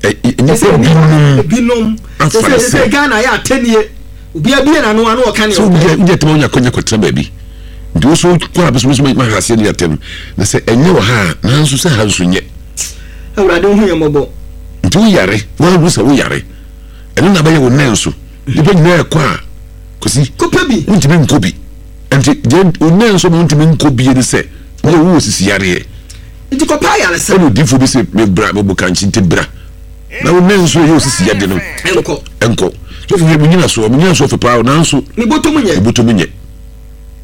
Nnipa binom. Binom. Afa ne sɛ. Ghana yɛ atɛnie. Obi abie n'ano ano ɔka ne ɔpɛ. Sɛ wogye atɛm a wonya kɔnya kɔtena baabi. Nti wo so kɔ a bɛsɛ so ma ha aseɛ ne atɛm. Na sɛ ɛnyɛ wɔ ha a nanso sɛ ha nso nyɛ. Awurade hu yɛn mmɔbɔ. Nti woyare woahu sɛ woyare. Ɛno na bɛyɛ wo nɛ nso. Nnipa nyinaa ɛkɔ a kɔsi. Kɔpɛ bi. Wontumi nkɔ bi. Nti deɛ wo nɛ nso ma wontumi nkɔ bie ne sɛ Wo wowɔ sisi yareɛ. Nti kɔpɛ ayaresa. Ɛna odiyifoɔ bi se me bra me bokankye nti bra na wo nan nso ɛyɛ osisi yade no. Ɛnkɔ. Ɛnkɔ. Sɔfo hwɛ me nyina soɔ me nyina soɔ fɛ paa o nanso. Me bɔtɔ mu nyɛ. Me bɔtɔ mu nyɛ.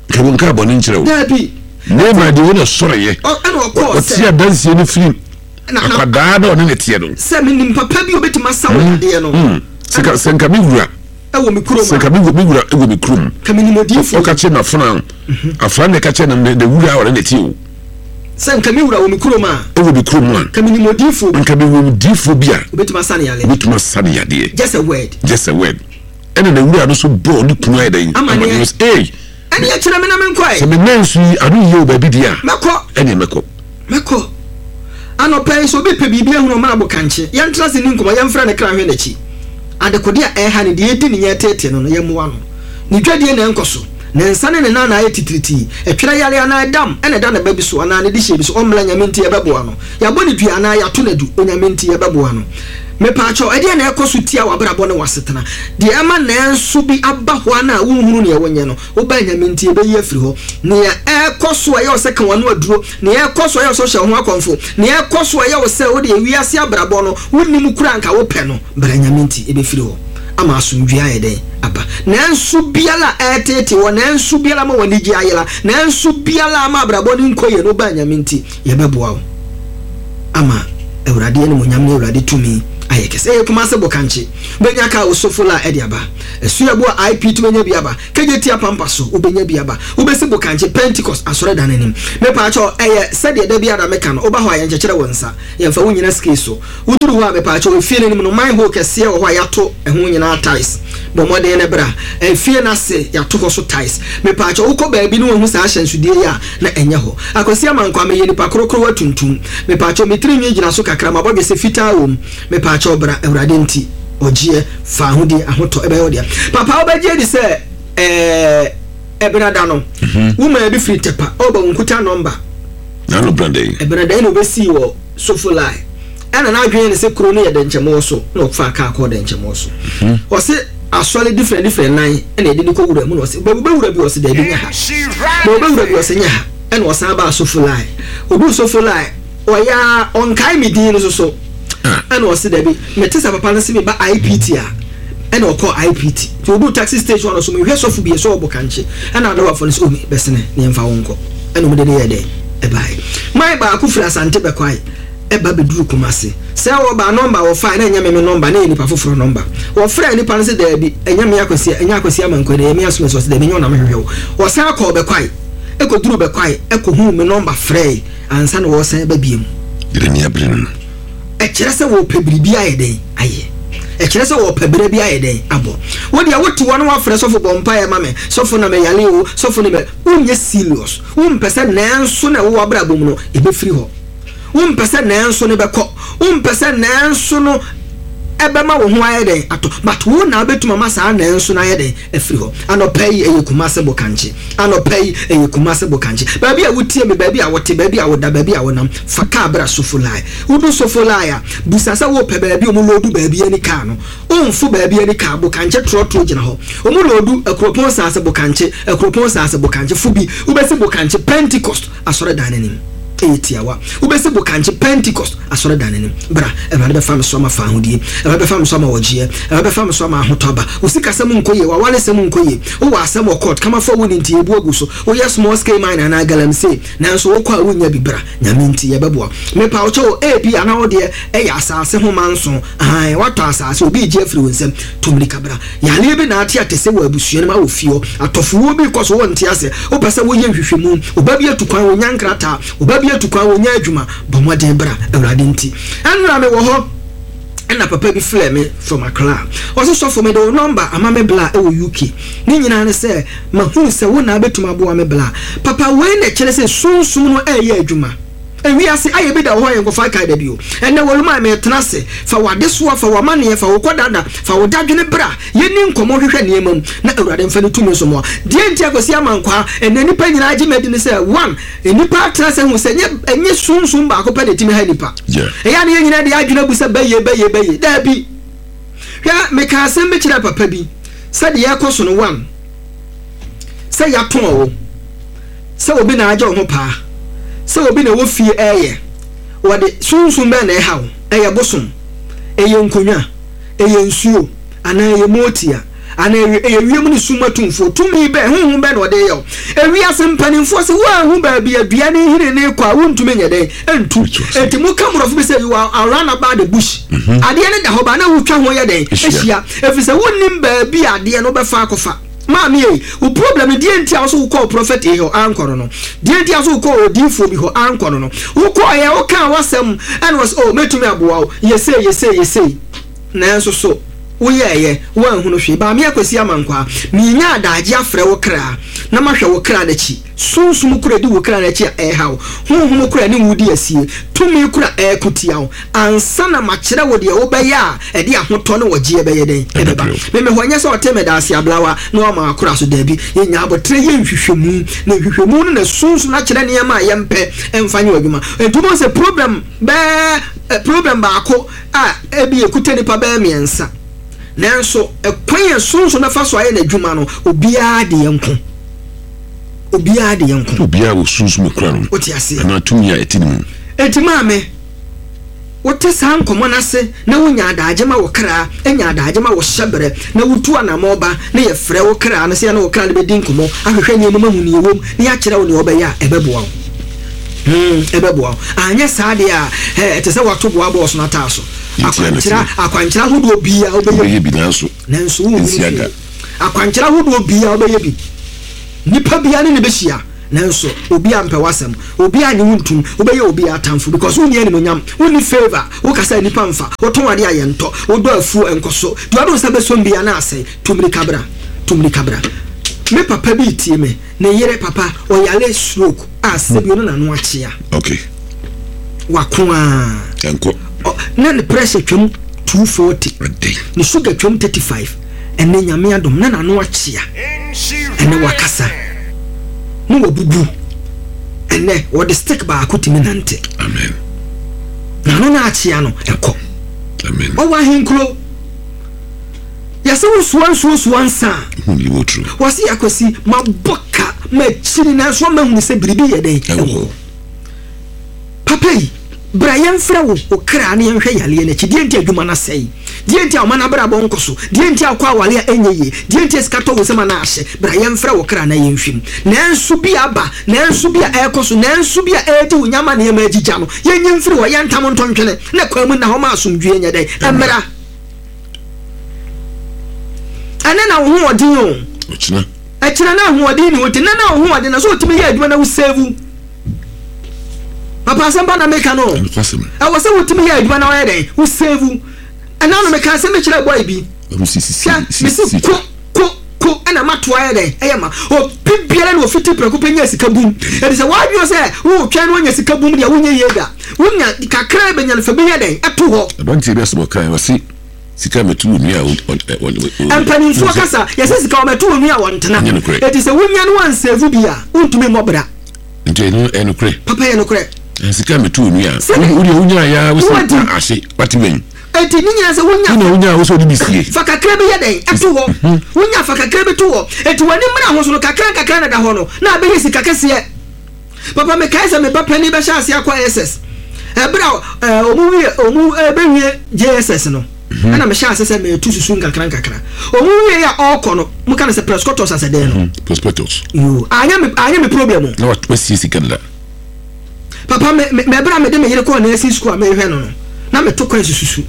Nka wo nka bɔne nkyerɛ wo. Daabi. Naaman deɛ wo na sɔreyɛ. Ɛna ɔkɔɔ sɛ. Ɔte adansie no firi akwadaa na ɔne ne teɛ no. Sɛ menim papa bi obetumi asa wo yadeɛ no. Sɛ nka me wura. Ɛwɔ me kurom a. Sɛ nka me me wura wɔ me kurom. Ka menim odiyifoɔ. Ɔka kyerɛ n'afenaa. Afenaa na ɛka kyerɛ ne ne wura a ɔne ne te o. Sɛ nka me wura wɔ me kurom a. Ɛwɔ me kurom a. Ka menim odiyifoɔ bi. Nka mewɔ odiyifoɔ bi a. Obetumi asa ne yadeɛ. Obetumi asa ne yadeɛ. Just a word. Just a word. Ɛna ne wura no nso bɔɔ ne kunu ayɛ dɛn. Amaneɛ. Ee. Ɛneɛ kyerɛ me na menkɔ ɛ. Sɛ me nan so yi ano yie wɔ baabi deɛ a. Mɛkɔ. Ɛneɛ mɛkɔ. Mɛkɔ. Anɔpa yi, sɛ obi repɛ biribi ahunu ɔmmra Bokankye. Yɛntena ase nni nkɔmmɔ, yɛmfrɛ ne kra nhwɛ n'akyi. Adekode a ɛreha no, deɛ ɛredi ne nya reteetee no no, yɛmmoa no. Ne dwadie na ɛnkɔ so. Ne nsa ne ne nan na ayɛ titiritii. Ɛtwerɛ yareɛ anaa ɛdam na ɛda ne ba bi so anaa ne dehyeɛ bi so, ɔmmra, Nyame nti yɛbɛboa no. Yɛabɔ no dua anaa yɛato no adu, Onyame nti yɛbɛboa no. Mepaakyɛw, ɛdeɛn na ɛrekɔ so tia w'abrabɔ ne w'asetena? Deɛ ɛma nanso bi aba hɔ ara na wonhunu neɛ wonyɛ no, wobaa Nyame nti yɛbɛyi afiri hɔ. Nea ɛrekɔ so a ɛyɛ wo sɛ ka w'ano aduro, nea ɛrekɔ so a ɛyɛ wo sɛ wohyɛ wo ho akɔmfo, nea ɛrekɔ so a ɛyɛ wo sɛ wodeɛ wiase abrabɔ no wonnim koraa anka wopɛ no, bra Nyame nti ɛbɛfiri hɔ ama asomdwoeɛ ayɛ dɛn? Aba. Nanso biara a ɛreteetee wɔ, nanso biara ama w'anigyeɛ ayera, nanso biara ama abrabɔ no nkɔ yie no, wobaa Nyame nti Yɛbɛboa wo ama Awurade animuonyam ne Awurade tumi ayɛ kɛse. Ɛyɛ Kumase Bokankye. Wobɛnya kaa Osofo la de aba. Asuaboa IP wobɛnya bi aba. Kejetia Pampa so wobɛnya bi aba. Wobɛsi Bokankye Pentecost Asɔredan no anim. Mepaakyɛw, ɛyɛ sɛdeɛ da biara meka no, woba hɔ a yɛnkyekyere wo nsa. Yɛmfa wo nnyina scale so. Woduru hɔ a, mepaakyɛw, efie no anim no, manhole kɛseɛ wɔ hɔ a yɛato ɛho nyinaa tiles. Bɔ mmɔden na bra. Efie no ase, yɛato hɔ so tiles. Mepaakyɛw, wokɔ baabi na woahu saa ahyɛnsodeɛ yi a, na ɛnyɛ hɔ. Akwasi Amankwah, meyɛ nipa korokorowa tuntum. Mepaakyɛw, me tiri nwi gyina so kakra, m'abɔdwesɛ fitaa wɔ mu. Mepaakyɛw, bra, Awurade nti. Ɔgyeɛ, faahodi, ahotɔ, ɛbɛyɛ wo dea. Papa, wobɛgye adi sɛ, ɛɛ. Ɛbenada no, woman bi firi Tepa ɔreba wo nkuta nɔmba. N'ano benada yi. Ɛbenada yi na ɔbɛsii wɔ Sofolai. Ɛna n'adwene yɛ ne sɛ kuro no yɛ Dɛnkyɛmmoɔ so na ɔfaa kaa kɔɔ Dɛnkyɛmmoɔ so. Ɔse asɔre different different nan ɛna yɛde no kɔ wura mu na ɔse baabi wobɛwura bi ɔse daabi nyɛ ha. Na ɔbɛwura bi ɔse nyɛ ha. Ɛna ɔsan baa Sofolai. Ɔduu Sofolai ɔyɛ a ɔnkae me din no nso so. Ɛna ɔse dabi mete sɛ papa no se meba IPT a ɛna ɔkɔɔ IPT. Nti ɔduu taxi station hɔ no so mehwɛ sɔfo bi sɛ ɔbɔ kankye. Ɛna adɔbafo no se oh me bɛsene na yɛmfa wo nkɔ. Ɛna ɔmo de no yɛɛ dɛn ɛbaeɛ. Man baako firi Asante Bɛkwae ɛba bɛduru Kumasi. Sɛ wɔba a nɔmba a wɔfaeɛ na ɛnyɛ me me nɔmba na ɛyɛ nipa foforɔ nɔmba. Wɔfrɛɛ nipa no se daabi ɛnyɛ me Akwasi ɛnyɛ Akwasi Amankwah na ɛyɛ me Asomasi ɔse daabi ɛnyɛ wo na mehwehwɛ wo. Ɔsan kɔɔ Bɛkwae ɛkɔduruu Bɛkwae ɛkɔhuu me nɔmba frɛɛe ansa na wɔresan ba biom. Deɛ n'ani abere no no. Ɛkyerɛ sɛ wɔrepɛ biribi ayɛ dɛn? Ayɛ. Ɛkyerɛ sɛ wɔrepɛ berɛ bi ayɛ dɛn? Abɔ. Wo deɛ wote hɔ na woafrɛ sɔfo bɔ mpaeɛ ma me, sɔfo na meyare o, sɔfo ne me, wonyɛ serious. Wompɛ sɛ nanso na ɛwɔ w'abrabɔ mu no ɛbɛfiri hɔ. Wompɛ sɛ nanso no bɛkɔ. Wompɛ sɛ nanso no ɛbɛma wo ho ayɛ dɛn? Atɔ. But wo na wobɛtumi ama saa nanso no ayɛ dɛn? Afiri hɔ. Anɔpa yi ɛyɛ Kumase Bokankye. Anɔpa yi ɛyɛ Kumase Bokankye. Baabi a wotie me, baabi a wote, baabi a woda, baabi a wonam, fa kaa bra Sofolai. Wodu Sofolai a, bisa sɛ wopɛ baabi a wɔloodu baabi ani kaa no. Womfo baabi ani kaa, Bokankye trɔtrɔ gyina hɔ. Wɔloodu Akuropɔn Saase Bokankye, Akuropɔn Saase Bokankye. Fo bi, wobɛsi Bokankye Pentecost Asɔredan no anim. Ɛyɛ tiawa. Wobɛsi Bokankye Pentecost Asɔredan no anim. Bra, Awurade bɛfa me so ama fawohodie. Awurade bɛfa me so ama ɔgyeɛ. Awurade bɛfa me so ama ahotɔ aba. Wo sikasɛm nkɔ yie, w'awaresɛm nkɔ yie. Wowɔ asɛm wɔ court, kamafoɔ a wonni nti yɛbu agu so. Woyɛ small scale mine anaa galamsey, nanso wokɔ a wonnya bi. Bra, Nyame nti yɛbɛboa wo. Mepa wo kyɛw, ebia na wo deɛ ɛyɛ asaase ho manso. Aane, woatɔ asaase, obi regye afiri wo nsam. Tu mmirika bra. Yareɛ bi na ate atɛsɛ wɔ abusua no mu, awɔ fie hɔ. Atɔfowuo bi rekɔ so, wonte aseɛ. Wopɛ sɛ woyɛ nhwehwɛmu. Wo ba bi atu kwan, ɔnnya nkrataa. Wo ba bi atu kwan, ɔnnya adwuma. Bɔ mmɔden bra, Awurade nti. Ɛnnora mewɔ hɔ ɛna papa bi frɛɛ me from Accra. Ɔse, Sɔfo, mede wo nɔmba ama me bla wɔ UK. Ne nyinaa ne sɛ, mahunu sɛ wo na wobɛtumi aboa me bla. Papa, wei na ɛkyerɛ sɛ Sunsum no reyɛ adwuma. Ewiase ayɛ bi da wɔ hɔ a yɛnkɔfa nkae da bio. Ɛnnɛ Wɔlumai meretena ase. Fa w'adesoa, fa w'amaneɛ, fa wo kɔdada, fa wo dadwene bra. Yɛnni nkɔmmɔ nhwehwɛ nneɛma mu na Awurade mfa ne tumi nso mmoa. Deɛ nti a Kwasi Amankwaa, ɛnnɛ nnipa nyinaa gye me adi ne sɛ, one, nnipa atena ase ahu sɛ ɛnyɛ ɛnyɛ sunsum baako pɛ na ɛtumi ha nnipa. Ɛyɛ a na yɛn nyinaa de yɛn adwene abu sɛ bɛyɛ, bɛyɛ, bɛyɛ. Daabi. Hwɛ, mekaa asɛm bi kyerɛɛ papa bi sɛ deɛ ɛrekɔ so no, one, sɛ yɛatɔn wo. Sɛ obi na agye wo ho paa, sɛ obi na ɛwɔ fie reyɛ, wɔde sunsum bɛn na ɛha wo? Ɛyɛ bosom? Ɛyɛ nkonnwa? Ɛyɛ nsuo? Anaa ɛyɛ mootia? Anaa ɛyɛ ɛyɛ wiem ne sum atumfoɔ? Tumi bɛn, honhom bɛn na ɔde reyɛ wo? Ewiase mpanimfoɔ se woanhu baabi a dua no nhini no rekɔ a, wontumi nyɛ dɛn? Ntu. Enti moka mmorɔfo bi sɛ you are around about the bush. Adeɛ no da hɔ ba na wotwa ho yɛ dɛn? Hyia. Ɛfiri sɛ wonnim baabi a adeɛ no bɛfa akɔfa. Maame ei, wo problem no deɛ nti a wo so wo kɔɔ prophet ei hɔ ankɔ no no, deɛ nti a wo so wo kɔɔ odiifoɔ bi hɔ ankɔ no no, wo kɔɔ yɛ wo kaa w'asɛm ɛna ɔsɛ oh mɛtumi aboa wo, yɛ sei yɛ sei yɛ sei, nanso so wo yɛɛyɛ, wo anhunu hwee. Maame Akwasi Amankwaa, menya adaagye afrɛ wo kra na mahwɛ wo kra no akyi. Sunsum koro a edi wo kra no akyi a ɛrehaw wo, honhom koro a ɛne wo redi asie, tumi koro a ɛreko tia wo, ansa na makyerɛ wo deɛ wobɛyɛ a ɛde ahotɔ ne ɔgyeɛ bɛyɛ dɛn? Ɛbɛba. Me mehɔ nyɛ sɛ ɔte medaase ablawa na wama akora so, daabi. Yɛnya aboterɛ yɛ nhwehwɛmu, na nhwehwɛmu no na sunsum no akyerɛ nneɛma a yɛmpɛ mfa nyɛ w'adwuma. Enti wobɛhu sɛ problem bɛɛ, problem baako a ebi ɛkuta nnipa bɛyɛ mmiɛnsa, nanso ɛkwan a sunsum bɛfa so ayɛ n'adwuma no, obiara deɛ nko. Obiara de yɛn ko. Obiara wɔ sunsum ekura no. Wote aseɛ? Anaa tumi a ɛte ne mu. Enti maame, wote saa nkɔmmɔ no ase na wonya adaagye ma wo kra, nya adaagye ma wo hyɛberɛ, na wotu anammɔn ba na yɛfrɛ wo kra no sɛ yɛne wo kra no bɛdi nkɔmmɔ, ahwehwɛ nneɛma mu ahu nea ɛwom, na yɛakyerɛ wo nea wobɛyɛ a, ɛbɛboa wo. Hmm, ɛbɛboa wo. Anyɛ saa deɛ a, hɛ, ɛte sɛ woato boa bɔɔso no ataa so. Akwankyerɛ, akwankyerɛ ahodoɔ biara wobɛyɛ bi. Nanso, nanso wonhunu hwee. Akwankyerɛ ahodoɔ biara wobɛyɛ bi. Nipa biara ne no bɛhyia nanso obiara mpɛ w'asɛm, obiara nnye wo ntom, wobɛyɛ obiara atamfo because wonni animuonyam, wonni favour, wokasa a nnipa mfa, wotɔn adeɛ a yɛntɔ, wodɔ afuo ɛnkɔso, deɛ wode wo nsa bɛsom biara na asɛe, tu mmirika bra, tu mmirika bra. Me papa bi retie me, ne yere papa ɔyare stroke a sɛbi ɔno n'ano akyea. Okay. Wako aa. Ɛnkɔ. Na ne pressure twam 240. Ɛdɛn. Ne sugar twam 35. Ɛnɛ Nyame adom na n'ano akyea. Ɛnɛ wakasa. Ne wabubu. Ɛnɛ wɔde stick baako tumi nante. Amen. Na ano na akyea no ɛkɔ. Amen. Ɔwɔ ahenkuro. Yɛsɛ wosoa nsuo soa nsa a. Wɔsi akwasi mabɔ ka makyiri nanso ama hunu sɛ biribi yɛ dɛn ɛwɔ hɔ. Papa yi, bra yɛmfrɛ wo, wo kra na yɛnhwɛ yareɛ no akyi. Deɛ nti a adwuma no asɛe? Deɛ nti a ɔman abrabɔ nkɔ so? Deɛ nti a wokɔ aware a ɛnyɛ yie? Deɛ nti a sika tɔ wo nsam a na ahye? Bra yɛmfrɛ wo kra na yɛnhwɛ mu. Nanso bi aba, nanso bi a ɛrekɔ so, nanso bi a ɛredi wo nya ama nneɛma agyigya no, yɛnyi mfiri hɔ, yɛntam nto ntwene, na kwan mu nna hɔ ma asomdwoeɛ nyɛ dɛn? Ɛmmra. Ɛnnɛ na wo ho ɔden o. Ɔkyena. Ɛkyena na ahoɔden ni hɔ nti, nnɛ na wo ho ɔden na so wotumi yɛ adwuma na wo save. Papa asɛm pa na meka no. Ɛwɔ sɛ wotumi yɛ adwuma na wɔyɛ dɛn? Wo save. Ɛna no meka asɛm bi kyerɛ boy bi. Hwɛ, mesi ko ko ko ɛna matoa yɛ dɛn? Ɛyɛ ma. Obi biara na ofiti prɛko pɛ nya sika bum. Ɛdi sɛ wadwene sɛ wotwɛn na wanya sika bum deɛ wonyɛ yie da. Wonya kakra bɛnya no fa bi yɛ dɛn? Ɛto hɔ. Aberanteɛ bi asɛm ɔkae ɔse sika mɛto wɔ nua a mpanimfoɔ kasa yɛsɛ sika wɔbɛto wɔ nua a wɔntena. Ɛti sɛ wonya no wansave bi a wontumi mmɔ bra. Nti ɛno ɛyɛ nokorɛ. Papa yɛ nokorɛ. Sika mɛto onua a. Wo deɛ wonya ya wo sɛ ahye wate wɛn. Eti ne nyinaa sɛ wonya. Wona wonya wo sɛ wode bi sie. Fa kakra bi yɛ dɛn ɛto hɔ. Mhm. Wonya fa kakra bi to hɔ. Eti w'ani mmra ho so no kakra nkakra na da hɔ no na abɛyɛ sika kɛseɛ. Papa mekae sɛ me ba panin bɛhyɛ aseɛ akɔ SS. Ɛberɛ a ɔmo wie ɔmo bɛwie JSS no. Mhm. Ɛna mehyɛ ase sɛ metu susu nkakra nkakra. Ɔmo wie a ɔrekɔ no, mo ka no sɛ prescotters asɛ dɛn no. Mhm, prospectus. Yoo, anyɛ me anyɛ me problem o. Na wasie sika dada. Papa me me ɛberɛ a mede me yere kɔɔ nursing school a mehwɛ no no, na meto kwan sususu.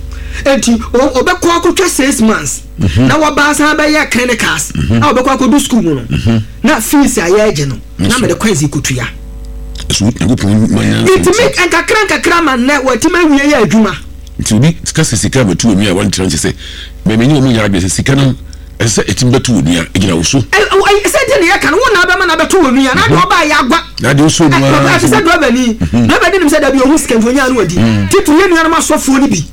Enti ɔbɛkɔ akɔtwa 6 months mhm. na waba asan bɛyɛ clinicals a ɔbɛkɔ akɔdu school mu no na fees a yɛregye no na mede kwan si kɔtua. Nti me nkakra nkakra ma nnɛ watumi awie yɛ adwuma. Nti obi ka sɛ sika bɛto onua a wantra nkyɛ sɛ me ne wɔn nyɛ adwene sɛ sika no ɛsɛ sɛ ɛtumi bɛto onua ɛgyina wo so. Sɛ deɛ ne yɛka no wo na abɛma no abɛto onua na adeɛ ɔbaa yɛ agwa. Na adeɛ ɔsɔ mu ara. Ɛte sɛ drɔbani. Drɔbani nim sɛ dabi ɔhu sika nti ɔnyaa no wadi. Titiri yɛ nuanom asɔfoɔ no bi.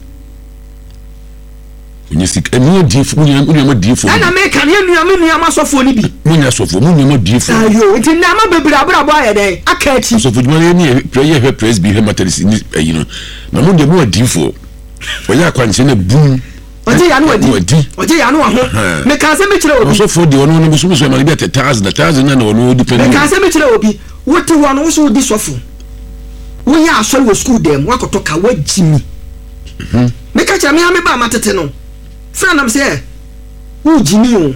Onye sika ɛmu adiifo mu nua mu adiifo. Ɛna meka no yɛ nua me nua ma asɔfoɔ no bi. Mo nyɛ asɔfoɔ mo nua mu adiifo. Ayo nti nneɛma bebree abrabɔ ayɛ dɛn aka akyi. Asɔfo dwuma no yɛ ne yɛ hwɛ presby hwɛ methodist ne ayi no na mo deɛ mo adiifoɔ ɔyɛ akwankyerɛ na bum. Ɔgye ya no wadi ɔgye ya no waho meka asɛm bi kyerɛ obi. Ɔsɔfoɔ deɛ ɔno no bosom so ɛma no bi atɛ thousand na thousand na na ɔno ɔdi pɛn. Meka asɛm bi kyerɛ obi wote hɔ no wo so wodi sɔfo woyɛ asɔre wɔ sukuu dɛm wakɔtɔ ka wagyi mi. Meka kyerɛ me ara me ba a matete no frɛ nam sɛ wogye mi o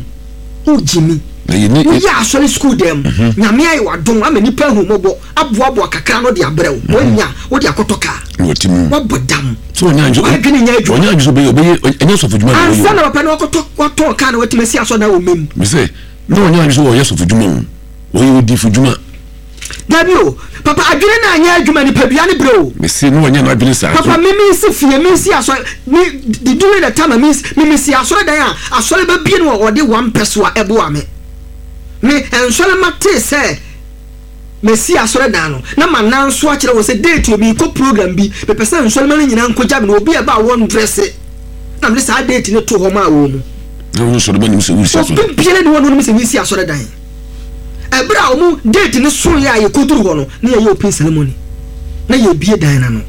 wogye mi woyɛ asɔre sukuu dɛm mhm. Nyame ayɛ wadom ama nipa ahu mmɔbɔ aboaboa kakra no de abrɛ wo mhm. Wanya wode akɔtɔ kaa wabɔ dam wadwene nyɛ adwuma ansa na papa no wakɔtɔ watɔn kaa na watumi asi asɔ na wɔ mem na ɔnyɛ adwene sɛ ɔyɛ sɔfo dwuma o ɔyɛ odifo dwuma. Dabi o, papa adwene no anyɛ adwuma nipadua no brɛ o. Mese na wanyɛ n'adwene saa. Papa me me si fie me si asɔre me the during the time a me me me si asɔre dan a asɔre ba bie no ɔde one pɛso a ɛboa me me nsɔre ma te sɛ me si asɔre dan no na ma nan so akyerɛ wɔ sɛ date omi kɔ program bi mepɛ sɛ nsɔre ma no nyinaa nkɔgya me na obi a ɛba a wɔn dresse na mede saa date no to hɔ maa wɔn mu. Na wɔn nsɔre ma nim sɛ wosi asɔre. Obi biara ni wɔn nim sɛ mesi asɔre dan. Ɛberɛ a wɔn date no soeɛ a yɛkɔduru hɔ no, na yɛyɛ open ceremony. Na yɛbie dan no ano.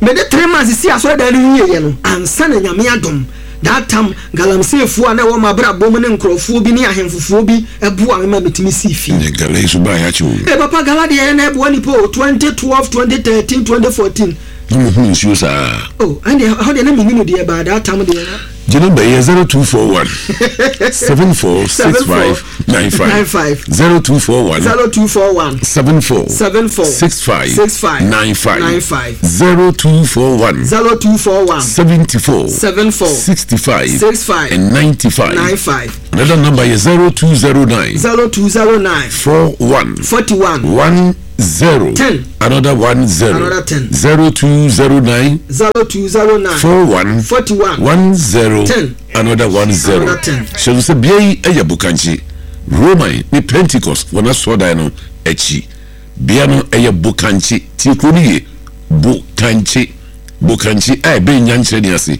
Mede 3 months si asɔredan no wieeɛ no, ansa na Nyame adom, that time galamseyfoɔ a na ɛwɔ m'abrabɔ mu ne nkurɔfoɔ bi ne ahemfofoɔ bi boa me ma metumi sii fie. Ɛnɛ gala yi so baa yɛakye o. Ee papa gala deɛ na ɛboa nipa o, 2012, 2013, 2014. Na mo hunu nsuo saa. Oh ɛndeɛ ɛhɔ deɛ na mennim deɛ but that time deɛ na. Gye number yi yɛ 0241 74 65 95 0241 0241 74 74 65 65 95 95 0241 0241 74 74 65 65 and 95. 95. Another number is 0209 0209 41 41 10 10. Another 10. Another 10. 0209 0209 41 41 10 10. Another 10. Another 10. Hyɛ no sɛ bea yi yɛ Bokankye, Roman ne Pentecost wɔn asɔrdan no akyi. Bea no yɛ Bokankye. Tie kuro no yie. Bokankye. Bokankye a ɛbɛn Nyankyerɛ ne ase.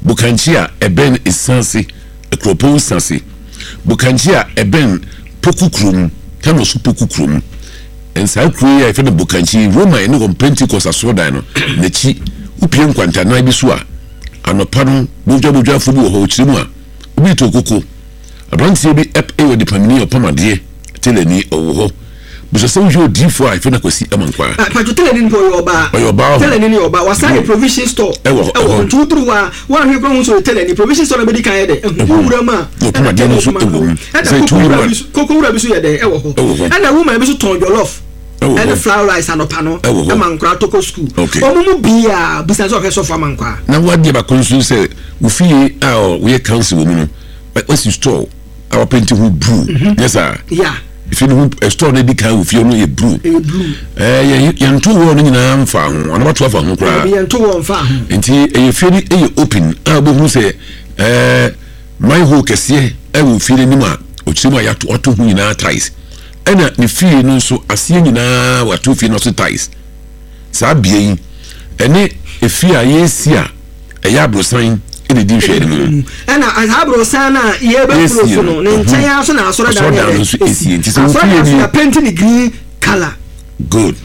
Bokankye a ɛbɛn Esanse, Akuropɔn Sase. Bokankye a ɛbɛn. Poku kurom, Tano so Poku kurom. Nsaa kuro yi a yɛfrɛ no Bokankyi, Roma ɛne wɔn Pentecost asɔrɔdan no n'akyi, wopie nkwantanan bi so a, anɔpa no bodwabodwafoɔ bi wɔ hɔ, ɔkyerɛ mu a, obi retɔ koko. Aberanteɛ bi yɛ ɔdepamni, ɔpam adeɛ, tailorni, ɔwɔ hɔ. Bisa sɛ wohwɛ odiyifoɔ a yɛfrɛ no Akwasi Amankwaa. Ah, Patro tailorni no mpo ɔyɛ ɔbaa. Ɔyɛ ɔbaa hɔ. Tailorni no yɛ ɔbaa. Wasan yɛ provision store. Ɛwɔ hɔ. Ɛwɔ hɔ. Nti woduru hɔ a, woanhwɛ koraa wohu sɛ ɔyɛ tailorni. Provision store no bɛdi kan yɛ dɛ? Ɛhu. Wowura mu a, Na ɔpam adeɛ no nso wɔ mu. Ɛna Sɛ koko wura 2 in 1. bi so, koko wura bi so yɛ dɛn? Ɛwɔ hɔ. Ɛwɔ hɔ. Ɛna woman bi so tɔn jollof. Ɛwɔ hɔ. Ɛne fried rice anɔpa no. Ɛwɔ hɔ. Ɛma nkwadaa tɔ kɔ sukuu. Okay. Wɔn mu biara bisa sɛ ɔhwɛ sɔfo Amankwaa. Na woadeɛ baako nso sɛ wo fie a woyɛ council wɔ mu no, wasi store a wapenti ho blue. Nyɛ saa? Yeah. Fie no ho eh, store no adi kan wɔ fie no yɛ blue. Ɛyɛ blue. Ɛɛ yɛn yɛnto wall no nyinaa mfa ho, anaa wato afa ho koraa. Ɛbi yɛnto wall mfa ho. Nti ɛyɛ fie no ɛyɛ open a wobɛhu sɛ ɛɛ manhole kɛseɛ ɛwɔ fie no anim a ɔkyerɛ mu a yɛato wato ho nyinaa tiles. Ɛna ne fie no nso aseɛ nyinaa wato fie no ase tiles. Saa bea yi ɛne efie a yɛresi a ɛyɛ aborosan na ɛdi nhwɛanim no. Ɛna saa aborosan no a yɛrebɛforo so no, ne nkyɛn ara so na asɔredan no yɛ dɛ esi. Nti sɛ Asɔredan wofie nso ni yɛapenti ne green colour. Good.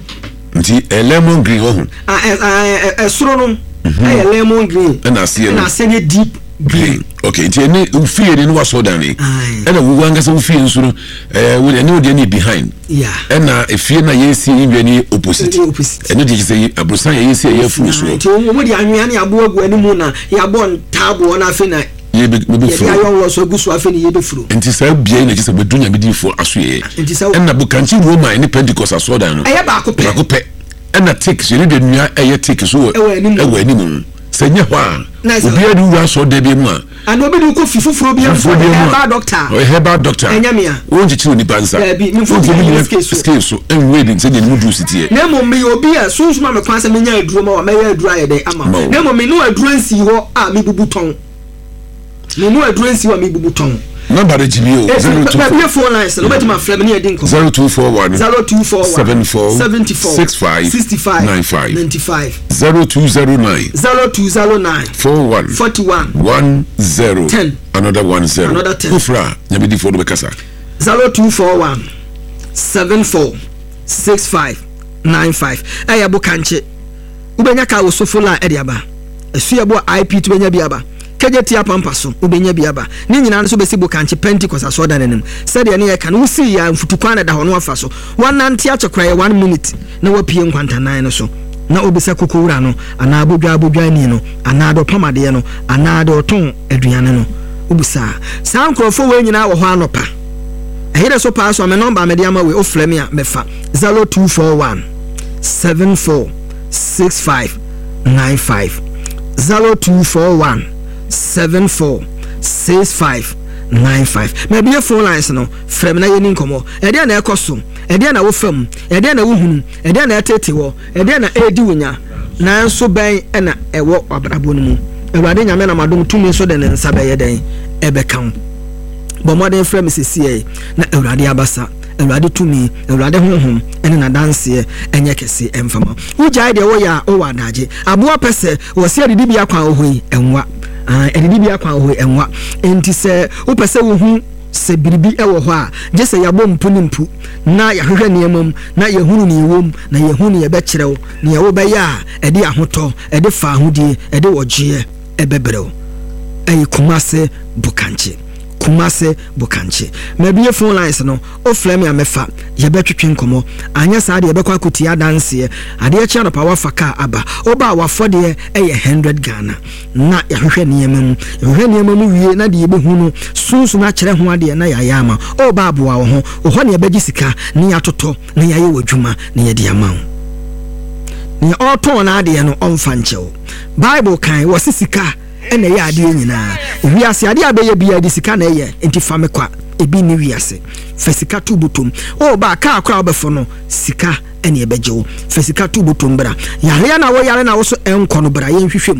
Nti ɛyɛ lemon green wɔ ho. Ah, ɛ ɛ ɛ ɛsoro no ɛyɛ lemon green. Ɛna aseɛ no. Ɛna aseɛ no yɛ deep green. Green. Okay, nti ɛne wofie ni ne wasɔredan ni. Aye. Ɛna wo ankasa wofie nso no, ɛɛ ɛne wo deɛ no yɛ behind. Yeah. Ɛna efie na yɛsi yi wia ni opposite. Opposite. Ɛno deɛ kyerɛ sɛ aborosan yɛ yɛsi a yɛafuru soɔ. Nti wɔn de anwea ne aboɔ agu anim na yɛabɔ ntaaboɔ na afei na yɛbɛfuro. Yɛde ayɔnwɔ so agu so afei na yɛbɛfuro. Nti saa bea yi na kyerɛ sɛ bɛdu Nyame diifoɔ asoɛeɛ. Nti sɛ. Ɛna Bokankye Roman ne Pentecost asɔredan no. Ɛyɛ baako pɛ. Baako pɛ. Ɛna tik so yɛde nnua ɛyɛ tik so wɔ ɛwɔ anim. Ɛwɔ anim. Sɛ nyɛ hɔ a, obiara de wura asɔredan bi mu a. Ana obi de wokɔ fi foforɔ bi mu a, ɔyɛ herbal doctor. Ɔyɛ herbal doctor. Ɛnyɛ mea. Wonkyekyere onipa nsa. Daabi, memfa obi nyina scale so. Scale so. Ɛnwere de sɛdeɛ ne mu duru si teɛ. Na mmom meyɛ obi a sunsum a me kwan sɛ menya aduro ma wo a, mɛyɛ aduro ayɛ dɛn ama wo. Na mmom menoa aduro nsii hɔ a mebubu tɔn. Menoa aduro nsii hɔ a mebubu tɔn. Number no gyimi o. 024. Mabie phone lines no, wobɛtumi afrɛ me ne yɛadi nkɔmmɔ. 0241. 0241. 74. 74. 65. 65. 95. 95. 0209. 0209. 41. 41. 10. 10. Another 10. Another 10. Wofrɛ a, Nyamedifoɔ no bɛkasa. 0241 74 65 95. Ɛyɛ Bokankye. Wobɛnya kaa wɔ Sofo line ɛde aba. Asuabu a IP to bɛnya bi aba. Kejetia Pampa so wobɛnya bi aba. Ne nyinaa no so bɛsi Bokankye Pentecost asɔredan no anim. Sɛdeɛ ne yɛka no, wosii yɛ a mfutukwan na ɛda hɔ na wafa so. Wanante akyɛ koraa yɛ one minute na wapue nkwantanan no so. Na wobisa koko wura no anaa bodwaa bodwaani no anaa deɛ ɔpam adeɛ no anaa deɛ ɔtɔn aduane no. Wobisa a. Saa nkorɔfoɔ wei nyinaa wɔ hɔ anɔpa. Ɛyerɛ so paa so a me nɔmba a mede ama wei wofrɛ me a mɛfa 0241 74 65 95 0241 74 65 95. Mabue phone lines no, frɛ me na yɛni nkɔmmɔ. Ɛdeɛn na ɛkɔ so? Ɛdeɛn na wofa mu? Ɛdeɛn na wohunu? Ɛdeɛn na ɛtete wɔ? Ɛdeɛn na ɛredi wo nya? Nanso bɛn na ɛwɔ w'abrabɔ no mu? Awurade Nyame nam adom tumi so de ne nsa bɛyɛ dɛn? Ɛbɛka wo. Bɔ mmɔden frɛ me sesiei na Awurade abasa, Awurade tumi, Awurade honhom ne n'adanseɛ nyɛ kɛse mfa ma wo. Wogyae deɛ woyɛ a, wowɔ adagye. Aboa pɛ sɛ wɔse adidibea kwan wɔ hɔ yi, ɛnwa. Ae, adidibea kwan wɔ hɔ yi, ɛnwa. Enti sɛ wopɛ sɛ wohu sɛ biribi wɔ hɔ a, gye sɛ yɛabɔ mpu ne mpu na yɛahwehwɛ nneɛma mu na yɛahunu nea ɛwom na yɛahu nea ɛbɛkyerɛ wo, nea wobɛyɛ a ɛde ahotɔ, ɛde faahodie, ɛde ɔgyeɛ ɛbɛbrɛ wo. Ɛyɛ Kumase Bokankye. Kumase Bokankye. Mabue phone lines no, wofrɛ me a mɛfa, yɛbɛtwetwe nkɔmmɔ. Anyɛ saa deɛ yɛbɛkɔ akɔtie adanseɛ. Adeɛ kye anɔpa woafa kaa aba. Woba a w'afɔdeɛ yɛ hundred Ghana. Na yɛahwehwɛ nneɛma mu. Yɛhwehwɛ nneɛma mu wie na deɛ yɛbɛhu no, sunsum akyerɛ ho adeɛ na yɛayɛ ama wo. Woba aboa wo ho. Wo hɔ na yɛbɛgye sika na yɛatotɔ na yɛayɛ w'adwuma na yɛde ama wo. Nea ɔretɔn n'adeɛ no ɔmfa nkyɛ wo. Bible kan wɔse sika na ɛyɛ adeɛ nyinaa. Wiase adeɛ a bɛyɛ biara de sika na ɛyɛ, nti fa me kwa. Ebi nni wiase. Fa sika to botom. O ba, kaa koraa wobɛfo no, sika na ɛbɛgye wo. Fa sika to botom bra. Yareɛ na woyare na wo so ɛnkɔ no, bra yɛnhwehwɛ mu.